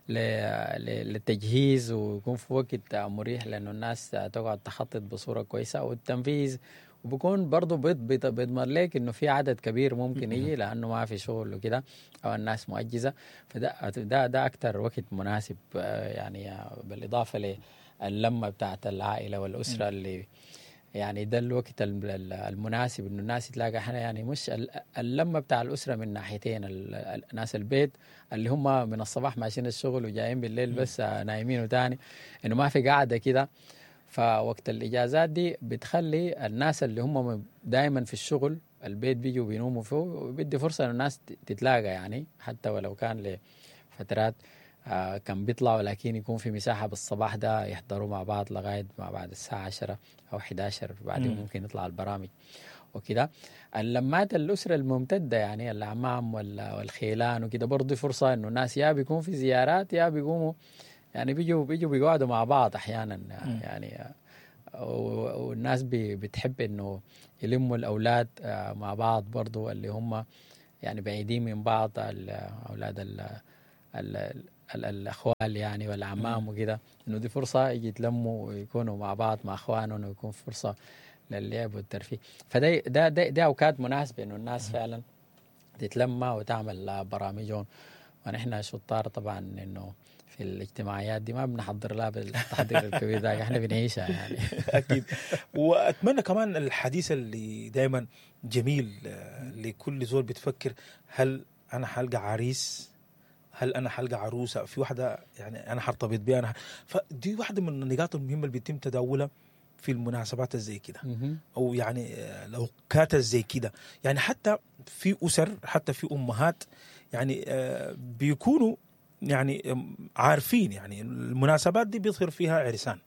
للتجهيز، ويكون في وقت مريح لانه الناس تقعد تخطط بصورة كويسة والتنفيذ، وبكون برضو بيضمن لك انه في عدد كبير ممكن يجي لانه ما في شغل وكده او الناس مؤجزه. فده ده ده اكثر وقت مناسب، يعني بالاضافة للمه بتاعت العائلة والاسرة اللي يعني ده الوقت المناسب انه الناس تلاقى. احنا يعني مش اللمة بتاع الاسرة من ناحيتين، الناس البيت اللي هم من الصباح ماشيين الشغل وجايين بالليل بس نايمين، وتاني انه ما في قاعدة كده. فوقت الاجازات دي بتخلي الناس اللي هم دائما في الشغل البيت بيجوا بينوموا فيه، وبيدي فرصة انه الناس تتلاقى، يعني حتى ولو كان لفترات كان بيطلعوا، لكن يكون في مساحة بالصباح ده يحضروا مع بعض لغاية ما بعد الساعة 10 أو 11، بعدين ممكن يطلع البرامج وكده. اللمات الأسرة الممتدة يعني الأعمام والخيلان وكده برضه فرصة إنه الناس يا بيكون في زيارات يا بيقوموا يعني بيجوا بيقعدوا مع بعض احيانا يعني، والناس بتحب انه يلموا الاولاد مع بعض برضو اللي هم يعني بعيدين من بعض، اولاد الاخوال يعني والعمام وكده، انه دي فرصة يجي يتلموا ويكونوا مع بعض مع اخوانهم، ويكون فرصة للعب والترفيه. فده ده ده, ده اوقات مناسبة انه الناس فعلا تتلمى وتعمل برامجهم. ونحن شطار طبعا انه في الاجتماعيات دي ما بنحضر لها بالتحضير الكبير ده، احنا بنعيشها يعني. اكيد. واتمنى كمان الحديث اللي دائما جميل لكل زول بتفكر، هل انا حلقى عريس؟ هل انا حلقى عروسه؟ في واحدة يعني انا حرتبط بيها انا. فدي واحدة من النقاط المهمة اللي بيتم تداولها في المناسبات زي كده، او يعني الاوقات زي كده. يعني حتى في اسر، حتى في امهات يعني بيكونوا يعني عارفين يعني المناسبات دي بيظهر فيها عرسان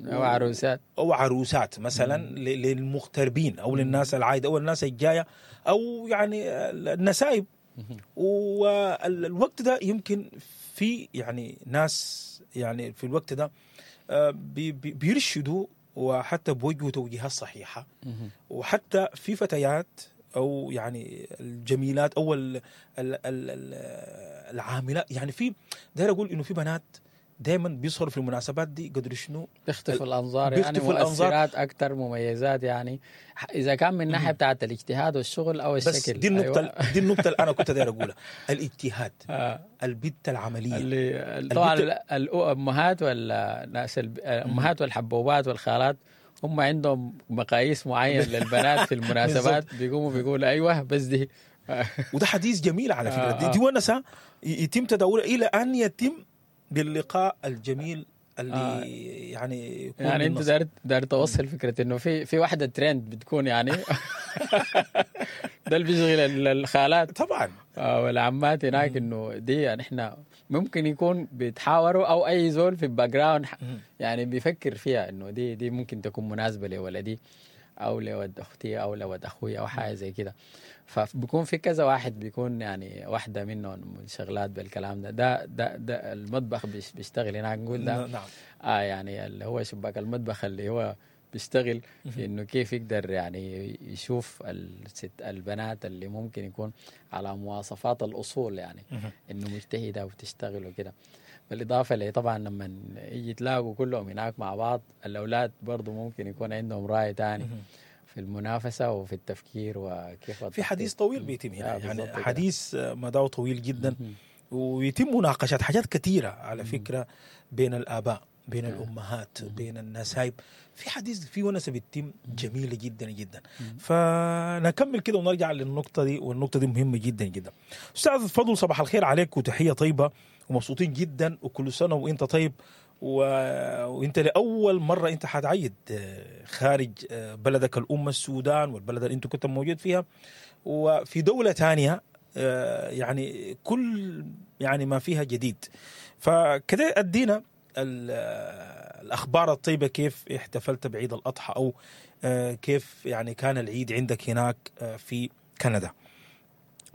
او عروسات، او عروسات مثلا للمغتربين او للناس العايده او الناس الجاية او يعني النسايب. والوقت ده يمكن في يعني ناس يعني في الوقت ده بيرشدوا وحتى بوجهوا توجيهات صحيحه، وحتى في فتيات او يعني الجميلات او العاملات. يعني في داير اقول انه في بنات دائما بيظهروا في المناسبات دي قدر شنو بيختفوا الانظار، يعني مؤثرات اكثر، مميزات، يعني اذا كان من ناحية بتاعه الاجتهاد والشغل او الشكل. بس دي النقطة. أيوة. دي النقطة اللي انا كنت داير اقولها، الاجتهاد. البت العملية اللي طبعا الامهات والناس، الامهات والحبوبات والخالات هم عندهم مقاييس معينة للبنات في المناسبات، بيقوموا بيقولوا ايوه بس دي. وده حديث جميل على فكرة. دي ونسه يتم تداولها الى ان يتم باللقاء الجميل اللي يعني يكون. يعني انت دار توصل فكرة انه في واحدة ترند بتكون يعني ده اللي بيشغل الخالات طبعا والعمات هناك، انه دي يعني احنا ممكن يكون بيتحاوروا او اي زول في ال background يعني بيفكر فيها انه دي ممكن تكون مناسبة لولدي او لولد اختي او لولد اخوي او حاجة زي كده. فبيكون في كذا واحد بيكون يعني واحدة منهم منشغلات بالكلام ده ده ده, ده المطبخ بيشتغل هناك، نقول ده. نعم. يعني اللي هو شباك المطبخ اللي هو بيشتغل في انه كيف يقدر يعني يشوف الست البنات اللي ممكن يكون على مواصفات الاصول، يعني انه مجتهدة وبتشتغل وكده. بالاضافة لي طبعا لما يجي تلاقوا كلهم هناك مع بعض، الاولاد برضو ممكن يكون عندهم راي تاني في المنافسة وفي التفكير وكيف. في حديث طويل بيتم هنا، يعني حديث مداه طويل جدا، ويتم مناقشات حاجات كثيرة على فكرة بين الاباء، بين الامهات، بين النسايب. في حديث، في ونسه بتتم جميلة جدا جدا. فنكمل كده ونرجع للنقطة دي، والنقطة دي مهمة جدا جدا. استاذ فضل، صباح الخير عليك وتحية طيبة ومبسوطين جدا، وكل سنة وانت طيب. وانت لاول مرة انت حتعيد خارج بلدك الام السودان والبلد اللي انت كنت موجود فيها، وفي دولة ثانية يعني كل يعني ما فيها جديد. فكده ادينا الأخبار الطيبة، كيف احتفلت بعيد الأضحى، أو كيف يعني كان العيد عندك هناك في كندا.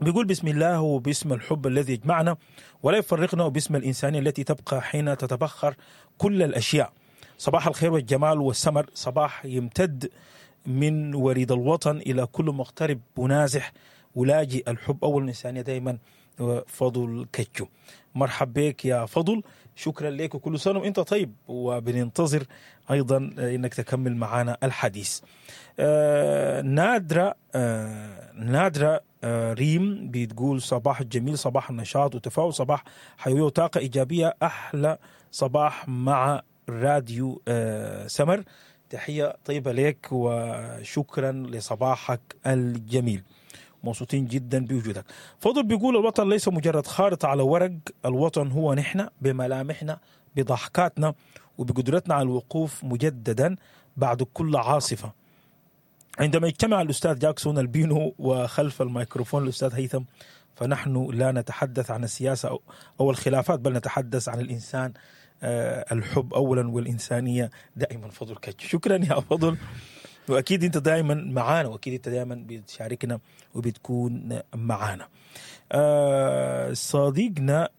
بيقول بسم الله وباسم الحب الذي يجمعنا ولا يفرقنا، وباسم الإنسانية التي تبقى حين تتبخر كل الأشياء. صباح الخير والجمال والسمر، صباح يمتد من وريد الوطن إلى كل مغترب ونازح ولاجئ. الحب أول الإنسانية دايما. فضل كتشو، مرحب بك يا فضل، شكرا لك وكل سنة وانت طيب، وبننتظر ايضا انك تكمل معنا الحديث. نادرة ريم بتقول صباح جميل، صباح النشاط وتفاؤل، صباح حيوية وطاقة ايجابية، احلى صباح مع راديو سمر. تحية طيبة لك وشكرا لصباحك الجميل، مبسوطين جدا بوجودك. فضل بيقول الوطن ليس مجرد خارطة على ورق، الوطن هو نحن بملامحنا، بضحكاتنا، وبقدرتنا على الوقوف مجددا بعد كل عاصفة. عندما يجتمع الأستاذ جاكسون البينو وخلف الميكروفون الأستاذ هيثم، فنحن لا نتحدث عن السياسة أو الخلافات، بل نتحدث عن الإنسان، الحب أولا والإنسانية دائما. فضل كتش، شكرا يا فضل، واكيد انت دائما معانا، واكيد انت دائما بتشاركنا وبتكون معانا. صديقنا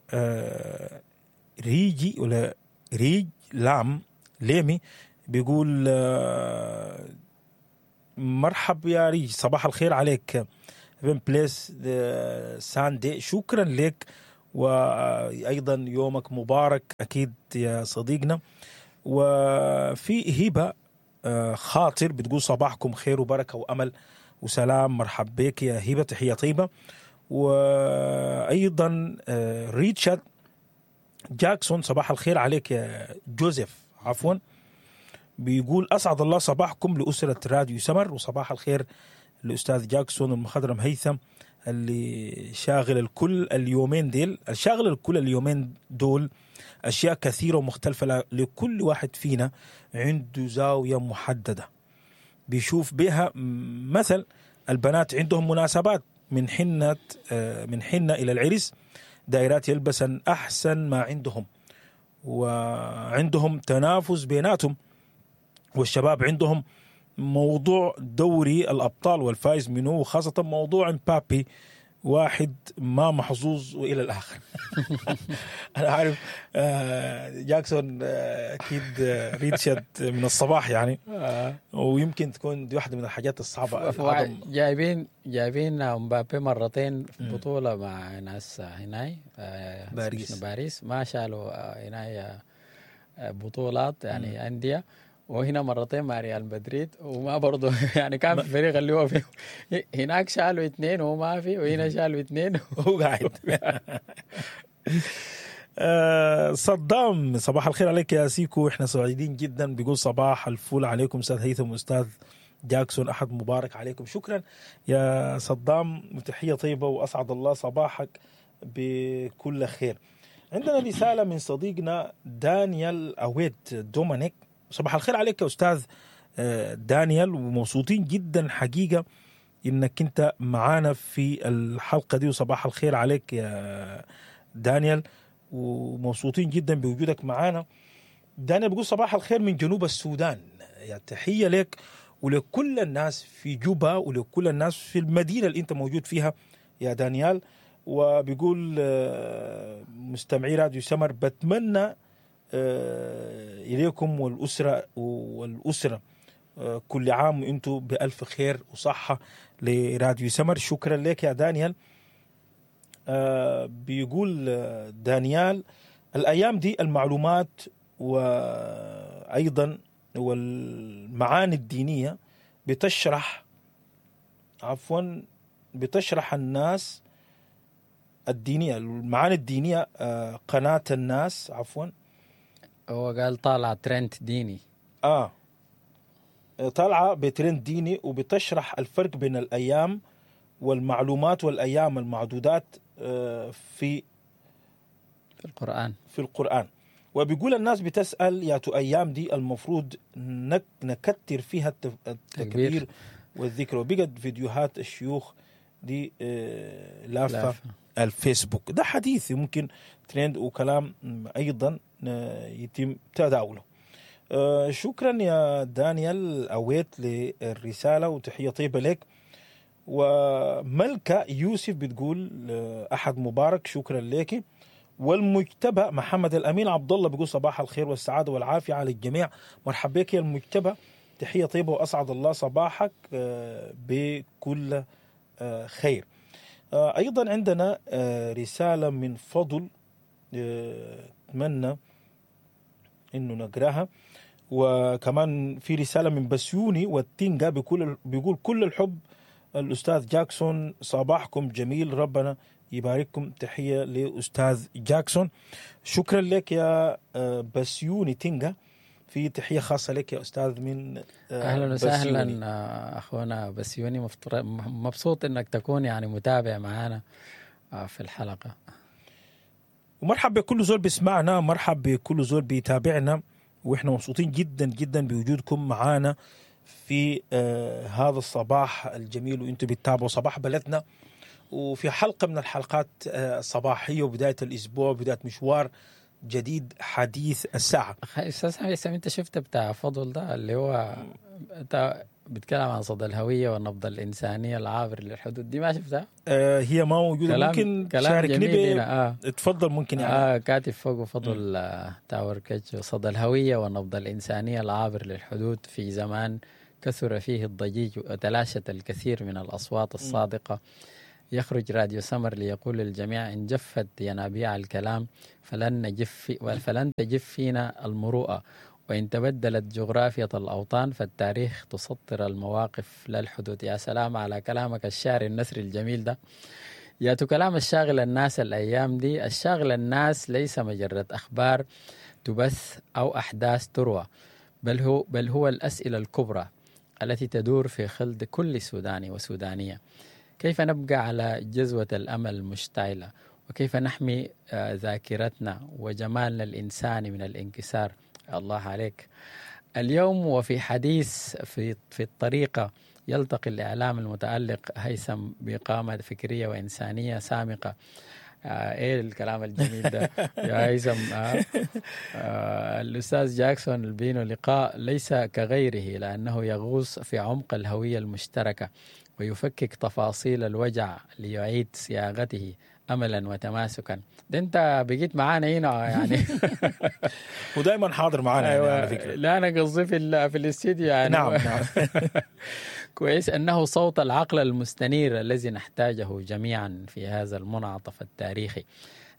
ريجي ولا ريج لام ليمي بيقول مرحب يا ريج، صباح الخير عليك، been blessed Sunday، شكرا لك وايضا يومك مبارك اكيد يا صديقنا. وفي هبه خاطر بتقول صباحكم خير وبركة وامل وسلام، مرحب بك يا هبه، تحية طيبة. وايضا ريتشارد جاكسون صباح الخير عليك يا جوزيف، عفوا، بيقول اسعد الله صباحكم لاسرة راديو سمر، وصباح الخير الاستاذ جاكسون المخضرم هيثم اللي شاغل الكل اليومين ديل، شاغل الكل اليومين دول اشياء كثيرة ومختلفة، لكل واحد فينا عنده زاوية محددة بيشوف بها. مثل البنات عندهم مناسبات من حنة الى العرس، دائرات يلبسن احسن ما عندهم وعندهم تنافس بيناتهم، والشباب عندهم موضوع دوري الأبطال والفائز منه، وخاصة موضوع مبابي واحد ما محظوظ وإلى الآخر. أنا عارف جاكسون أكيد ريتشارد من الصباح يعني، ويمكن تكون دي واحدة من الحاجات الصعبة. جايبين مبابي مرتين في بطولة مع ناس هناي باريس، ما شالوا هناي بطولات يعني أندية، وهنا مرتين مع ريال مدريد وما برضو يعني كان في فريق اللي هو فيه هناك شالوا 2 وهو ما في، وهنا شالوا 2 وهو قاعد. صدام صباح الخير عليك يا سيكو، احنا سعيدين جدا. بيقول صباح الفول عليكم استاذ هيثم واستاذ جاكسون، احد مبارك عليكم. شكرا يا صدام وتحية طيبة، واسعد الله صباحك بكل خير. عندنا رسالة من صديقنا دانيال أويت دومينيك، صباح الخير عليك يا أستاذ دانيال، ومبسوطين جدا حقيقة إنك أنت معانا في الحلقة دي، وصباح الخير عليك يا دانيال ومبسوطين جدا بوجودك معانا. دانيال بيقول صباح الخير من جنوب السودان، يا تحية لك ولكل الناس في جوبا ولكل الناس في المدينة اللي أنت موجود فيها يا دانيال. وبيقول مستمعي راديو سمر بتمنى إليكم والأسرة كل عام وأنتم بألف خير وصحة لراديو سمر. شكرا لك يا دانيال. بيقول دانيال الأيام دي المعلومات وأيضا والمعاني الدينية بتشرح الناس الدينية، المعاني الدينية قناة الناس، عفوا هو قال طالع ترند ديني، طالعة بترند ديني وبتشرح الفرق بين الأيام والمعلومات والأيام المعدودات في القرآن. وبيقول الناس بتسأل يا تو أيام دي المفروض نكتر فيها التكبير والذكر، وبقت فيديوهات الشيوخ دي لافة الفيسبوك. ده حديث ممكن ترند وكلام أيضا يتم تداوله. شكرا يا دانيال أويت للرسالة وتحية طيبة لك. وملكة يوسف بتقول أحد مبارك، شكرا لك. والمجتبى محمد الأمين عبد الله بيقول صباح الخير والسعادة والعافية على الجميع، مرحبا بك يا المجتبى، تحية طيبة وأسعد الله صباحك بكل خير. أيضا عندنا رسالة من فضل، أتمنى إنه نقراها. وكمان في رسالة من بسيوني والتينجا بيقول كل الحب الأستاذ جاكسون، صباحكم جميل، ربنا يبارككم، تحية لأستاذ جاكسون. شكرا لك يا بسيوني تينجا، في تحية خاصة لك يا أستاذ من أهلا وسهلا أخونا بسيوني، مبسوط إنك تكون يعني متابع معنا في الحلقة. ومرحب بكل زول بيسمعنا، مرحب بكل زول بيتابعنا، وإحنا مبسوطين جدا جدا بوجودكم معنا في هذا الصباح الجميل، وإنتم بتتابعوا صباح بلدنا، وفي حلقة من الحلقات الصباحية وبداية الأسبوع وبداية مشوار جديد حديث الساعة. أستاذ حسام، أنت شفت بتاع فضل ده اللي هو بيتكلم عن صدى الهوية والنبض الإنسانية العابر للحدود، دي ما شفتها؟ هي ما موجودة. كلام ممكن كلام تشاركني جميل هنا. اتفضل. ممكن يعني كاتب فوق فضل تاور كتشو: صدى الهوية والنبض الإنسانية العابر للحدود في زمان كثر فيه الضجيج وتلاشت الكثير من الأصوات الصادقة، يخرج راديو سمر ليقول للجميع: إن جفت ينابيع الكلام فلن تجف فينا المروءة، وإن تبدلت جغرافية الأوطان فالتاريخ تسطر المواقف لا الحدود. يا سلام على كلامك الشعري النثري الجميل ده. يا كلام الشاغل الناس الأيام دي. الشاغل الناس ليس مجرد أخبار تبث أو أحداث تروى، بل هو الأسئلة الكبرى التي تدور في خلد كل سوداني وسودانية: كيف نبقى على جذوة الأمل المشتعلة؟ وكيف نحمي ذاكرتنا وجمالنا الإنساني من الانكسار؟ الله عليك. اليوم وفي حديث في الطريقة يلتقي الإعلام المتألق هيثم بقامة فكرية وإنسانية سامقة. ايه الكلام الجميل ده يا هيثم؟ الأستاذ جاكسون البينو، لقاء ليس كغيره لأنه يغوص في عمق الهوية المشتركة ويفكك تفاصيل الوجع ليعيد صياغته املا وتماسكا. ده انت بقيت معانا هنا يعني. ودائما حاضر معانا يعني على فكره. لا، انا قصدي في الاستديو يعني. نعم. كويس. انه صوت العقل المستنير الذي نحتاجه جميعا في هذا المنعطف التاريخي.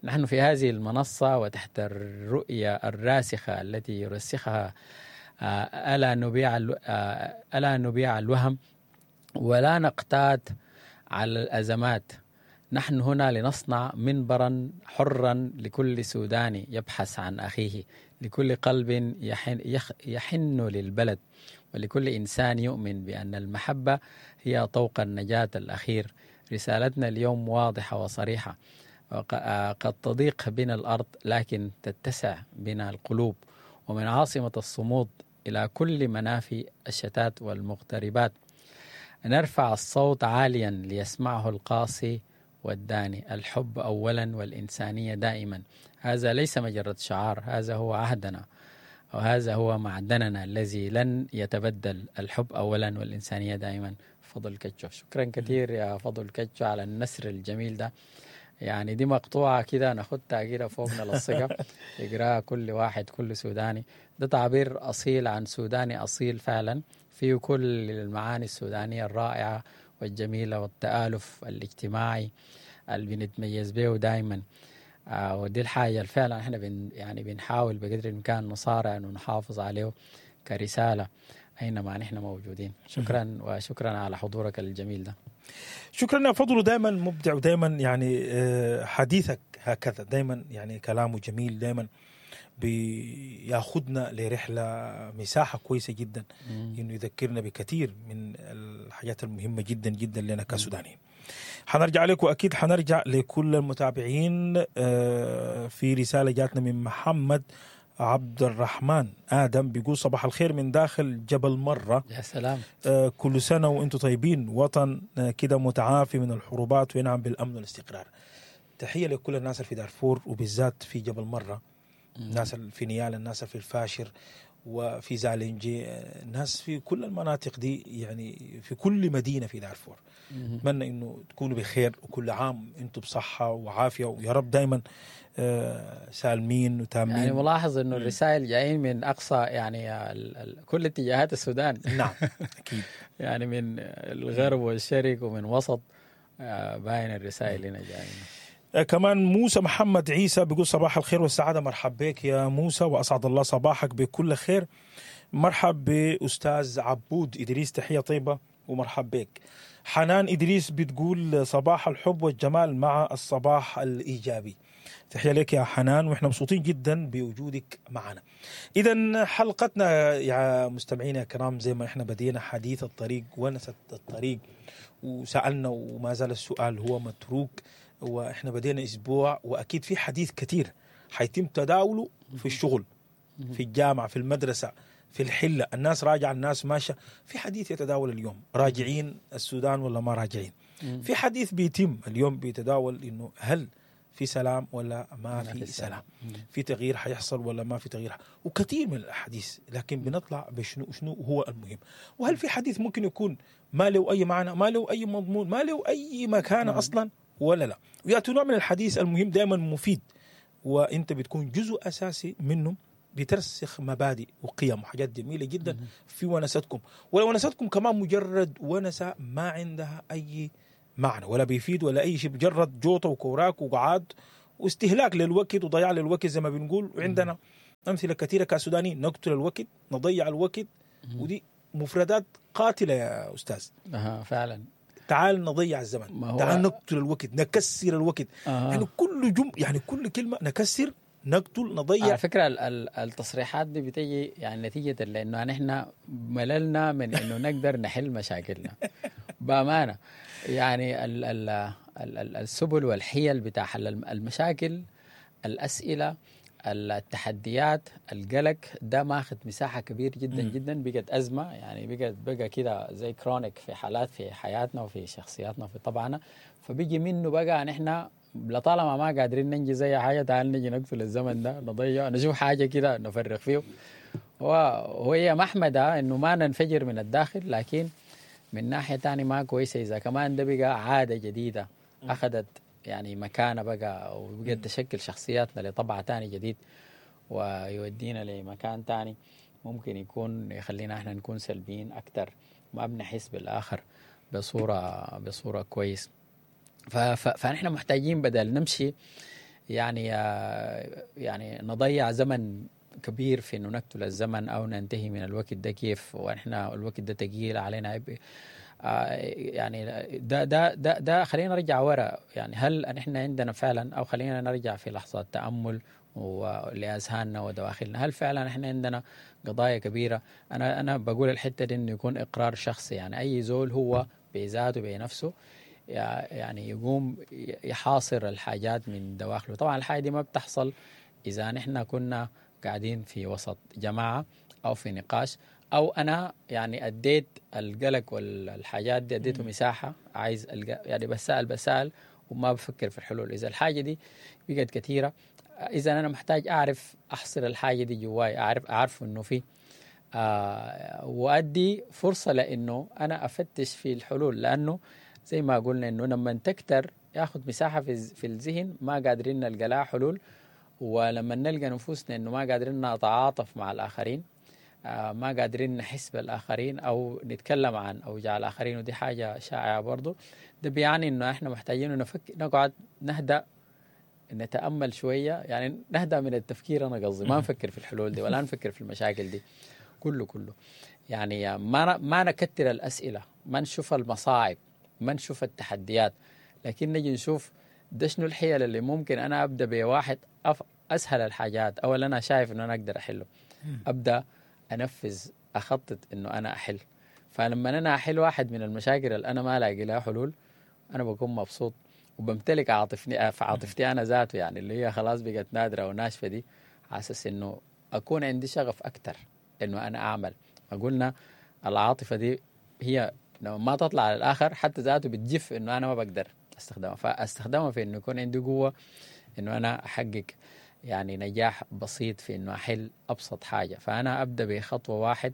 نحن في هذه المنصة وتحت الرؤية الراسخة التي يرسخها ألا نبيع الوهم ولا نقتات على الأزمات. نحن هنا لنصنع منبرا حرا لكل سوداني يبحث عن أخيه، لكل قلب يحن للبلد، ولكل إنسان يؤمن بأن المحبة هي طوق النجاة الأخير. رسالتنا اليوم واضحة وصريحة: قد تضيق بنا الأرض لكن تتسع بنا القلوب. ومن عاصمة الصمود إلى كل منافي الشتات والمغتربات، نرفع الصوت عاليا ليسمعه القاصي والداني: الحب أولا والإنسانية دائما. هذا ليس مجرد شعار، هذا هو عهدنا وهذا هو معدننا الذي لن يتبدل. الحب أولا والإنسانية دائما. فضل كتشو. شكرا كثير يا فضل كتشو على النثر الجميل ده. يعني دي مقطوعة كده ناخدها كده فوق نلصقها، يقراها كل واحد، كل سوداني. ده تعبير أصيل عن سوداني أصيل فعلا، فيه كل المعاني السودانية الرائعة والجميلة والتآلف الاجتماعي اللي بنتميز به دائما. ودي الحاجة اللي فعلا احنا يعني بنحاول بقدر الإمكان نصارع انه نحافظ عليه كرسالة أينما نحن موجودين. شكرا، وشكرا على حضورك الجميل ده. شكرا يا فضل، دائما مبدع ودائما يعني حديثك هكذا دائما، يعني كلامه جميل، دائما بياخذنا لرحلة مساحة كويسة جدا، انه يذكرنا بكثير من الحاجات المهمة جدا جدا لنا كسودانيين. حنرجع لكم واكيد حنرجع لكل المتابعين. في رسالة جاتنا من محمد عبد الرحمن ادم، بيقول: صباح الخير من داخل جبل مره. يا سلام. كل سنة وانتم طيبين، وطن كده متعافي من الحروبات وينعم بالامن والاستقرار. تحية لكل الناس اللي في دارفور وبالذات في جبل مره، الناس اللي في نيالا، الناس في الفاشر وفي زالنجي، الناس في كل المناطق دي، يعني في كل مدينة في دارفور. اتمنى انه تكونوا بخير وكل عام انتم بصحة وعافيه، ويا رب دائما سالمين وتامين. يعني ملاحظ انه الرسائل جايين من اقصى يعني كل اتجاهات السودان. نعم اكيد. يعني من الغرب والشرق ومن وسط، باين الرسائل هنا جايين. كمان موسى محمد عيسى بيقول: صباح الخير والسعادة. مرحب بك يا موسى وأسعد الله صباحك بكل خير. مرحب بأستاذ عبود إدريس، تحية طيبة ومرحب بك. حنان إدريس بتقول: صباح الحب والجمال مع الصباح الإيجابي. تحية لك يا حنان، وإحنا مبسوطين جدا بوجودك معنا. إذا حلقتنا يا مستمعينا الكرام، زي ما إحنا بدينا حديث الطريق ونسة الطريق وسألنا، وما زال السؤال هو متروك، واحنا بدينا اسبوع واكيد في حديث كثير حيتم تداوله في الشغل، في الجامعه، في المدرسه، في الحله، الناس راجعه، الناس ماشية، في حديث يتداول اليوم: راجعين السودان ولا ما راجعين؟ في حديث بيتم اليوم بيتداول انه هل في سلام ولا ما في سلام، في تغيير حيحصل ولا ما في تغيير، وكثير من الاحاديث. لكن بنطلع بشنو شنو هو المهم؟ وهل في حديث ممكن يكون ما له اي معنى، ما له اي مضمون، ما له اي مكانه اصلا ولا لا؟ وياتي نوع من الحديث المهم دائما مفيد، وانت بتكون جزء اساسي منه، بترسخ مبادئ وقيم وحاجات جميلة جدا في ونستكم. ولو ونستكم كمان مجرد ونسه ما عندها اي معنى ولا بيفيد ولا اي شيء، مجرد جوطه وكوراك وقعاد واستهلاك للوقت وضياع للوقت زي ما بنقول. وعندنا امثلة كثيرة كسودانيين، نقتل الوقت، نضيع الوقت، ودي مفردات قاتله يا استاذ. فعلا. تعال نضيع الزمن، تعال نقتل الوقت، نكسر الوقت. يعني كل يعني كل كلمة نكسر، نقتل، نضيع. على فكرة التصريحات دي بتيجي يعني نتيجة لأنه نحن مللنا من إنه نقدر نحل مشاكلنا بأمانة. يعني ال ال ال السبل والحيل بتاع حل المشاكل، الأسئلة، التحديات، القلق ده ماخذ مساحة كبير جدا جدا، بقت أزمة يعني، بقى كده زي كرونيك في حالات في حياتنا وفي شخصياتنا وفي طبعنا. فبيجي منه بقى نحن لطالما ما قادرين ننجز أي حاجة، تعال نجي نقفل الزمن ده، نضيع، نشوف حاجة كده نفرغ فيه. وهي محمدة إنه ما ننفجر من الداخل، لكن من ناحية تانية ما كويسة إذا كمان ده بقى عادة جديدة أخذت يعني مكانة بقى، وبقت تشكل شخصياتنا لطبع تاني جديد، ويودينا لمكان تاني ممكن يكون يخلينا احنا نكون سلبيين أكتر، ما بنحس بالآخر بصورة كويس. فنحن محتاجين بدل نمشي يعني نضيع زمن كبير في انه نقتل الزمن او ننتهي من الوقت ده كيف، ونحن الوقت ده تقيل علينا عبء. يعني ده ده ده ده خلينا نرجع ورا. يعني هل نحن عندنا فعلا، او خلينا نرجع في لحظات تأمل ولأذهاننا ودواخلنا، هل فعلا نحن عندنا قضايا كبيرة؟ انا بقول الحتة دي انه يكون اقرار شخصي، يعني اي زول هو بذاته بنفسه يعني يقوم يحاصر الحاجات من دواخله. طبعا الحاجة دي ما بتحصل إذا نحن كنا قاعدين في وسط جماعة أو في نقاش، أو أنا يعني أديت القلق والحاجات دي أديته مساحة، عايز يعني بسأل وما بفكر في الحلول. إذا الحاجة دي بقت كثيرة، إذا أنا محتاج أعرف أحصر الحاجة دي جواي، أعرف إنه في وأدي فرصة لأنه أنا أفتش في الحلول، لأنه زي ما قلنا إنه لما تكتر ياخد مساحة في الذهن ما قادرين نلقى لها حلول، ولما نلقى نفوسنا إنه ما قادرين نتعاطف مع الآخرين، ما قادرين نحس بالآخرين أو نتكلم عن أوجاع الآخرين، ودي حاجة شائعة برضو. ده بيعني إنه إحنا محتاجين نفكر، نقعد نهدأ، نتأمل شوية، يعني نهدأ من التفكير. أنا قصدي ما نفكر في الحلول دي ولا نفكر في المشاكل دي كله يعني ما نكتر الأسئلة، ما نشوف المصاعب، ما نشوف التحديات، لكن نجي نشوف ده شنو الحيل اللي ممكن أنا أبدأ بواحد أسهل الحاجات، أو اللي أنا شايف إنه أنا أقدر أحله، أبدأ أنفذ، أخطط إنه أنا أحل. فلما أنا أحل واحد من المشاكل اللي أنا ما لاقي لها حلول، أنا بكون مبسوط وبمتلك عاطفتي أنا ذاته، يعني اللي هي خلاص بقت نادرة وناشفة دي، على أساس إنه أكون عندي شغف أكتر إنه أنا أعمل. ما قلنا العاطفة دي هي لما ما تطلع على الآخر حتى ذاته بتجف إنه أنا ما بقدر أستخدمها، فأستخدمها في إنه يكون عندي قوة إنه أنا أحقق يعني نجاح بسيط في إنه أحل أبسط حاجة. فأنا أبدأ بخطوة واحد،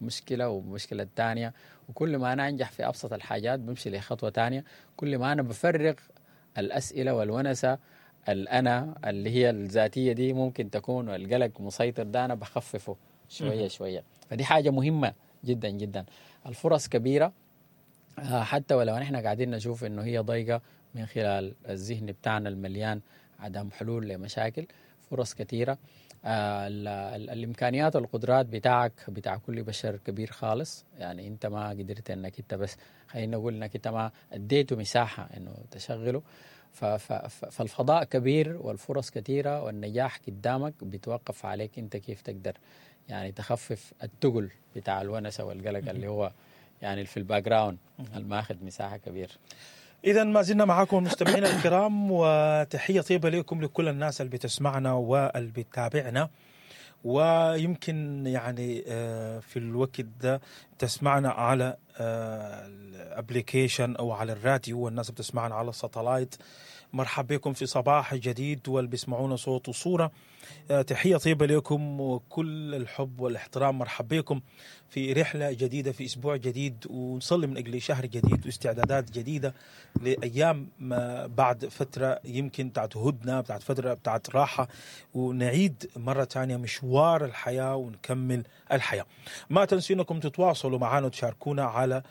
مشكلة ومشكلة تانية، وكل ما أنا أنجح في أبسط الحاجات بمشي لخطوة تانية. كل ما أنا بفرغ الأسئلة والونسة الأنا اللي هي الذاتية دي ممكن تكون، والقلق مسيطر ده أنا بخففه شوية شوية. فدي حاجة مهمة جدا جدا. الفرص كبيرة، حتى ولو نحن قاعدين نشوف إنه هي ضيقة من خلال الذهن بتاعنا المليان عدم حلول لمشاكل، فرص كثيرة. الإمكانيات والقدرات بتاعك بتاع كل بشر كبير خالص. يعني أنت ما قدرت إنك أنت بس خلينا نقول إنك أنت ما أديته مساحة إنه تشغله. فالفضاء كبير والفرص كثيرة والنجاح قدامك، بيتوقف عليك أنت كيف تقدر يعني تخفف التقل بتاع الونسة والقلق اللي هو يعني في ال background الماخذ مساحة كبير. إذا ما زلنا معكم المستمعين الكرام، وتحية طيبة لكم لكل الناس اللي بتسمعنا واللي بتتابعنا، ويمكن يعني في الوقت ده تسمعنا على ال application او على الراديو، والناس بتسمعنا على ال satellite. مرحب بكم في صباح جديد، واللي بيسمعونا صوت وصورة، تحية طيبة لكم وكل الحب والاحترام. مرحب بكم في رحلة جديدة، في أسبوع جديد، ونصلي من أجل شهر جديد واستعدادات جديدة لأيام ما بعد فترة يمكن بتاعت هدنة، بتاعت فترة بتاعت راحة، ونعيد مرة تانية مشوار الحياة ونكمل الحياة. ما تنسوا انكم تتواصلوا معنا وتشاركونا على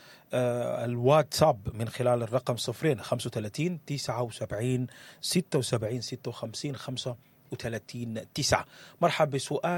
الواتساب من خلال الرقم 0 35 79 76 56 35 9. مرحبا بسؤال.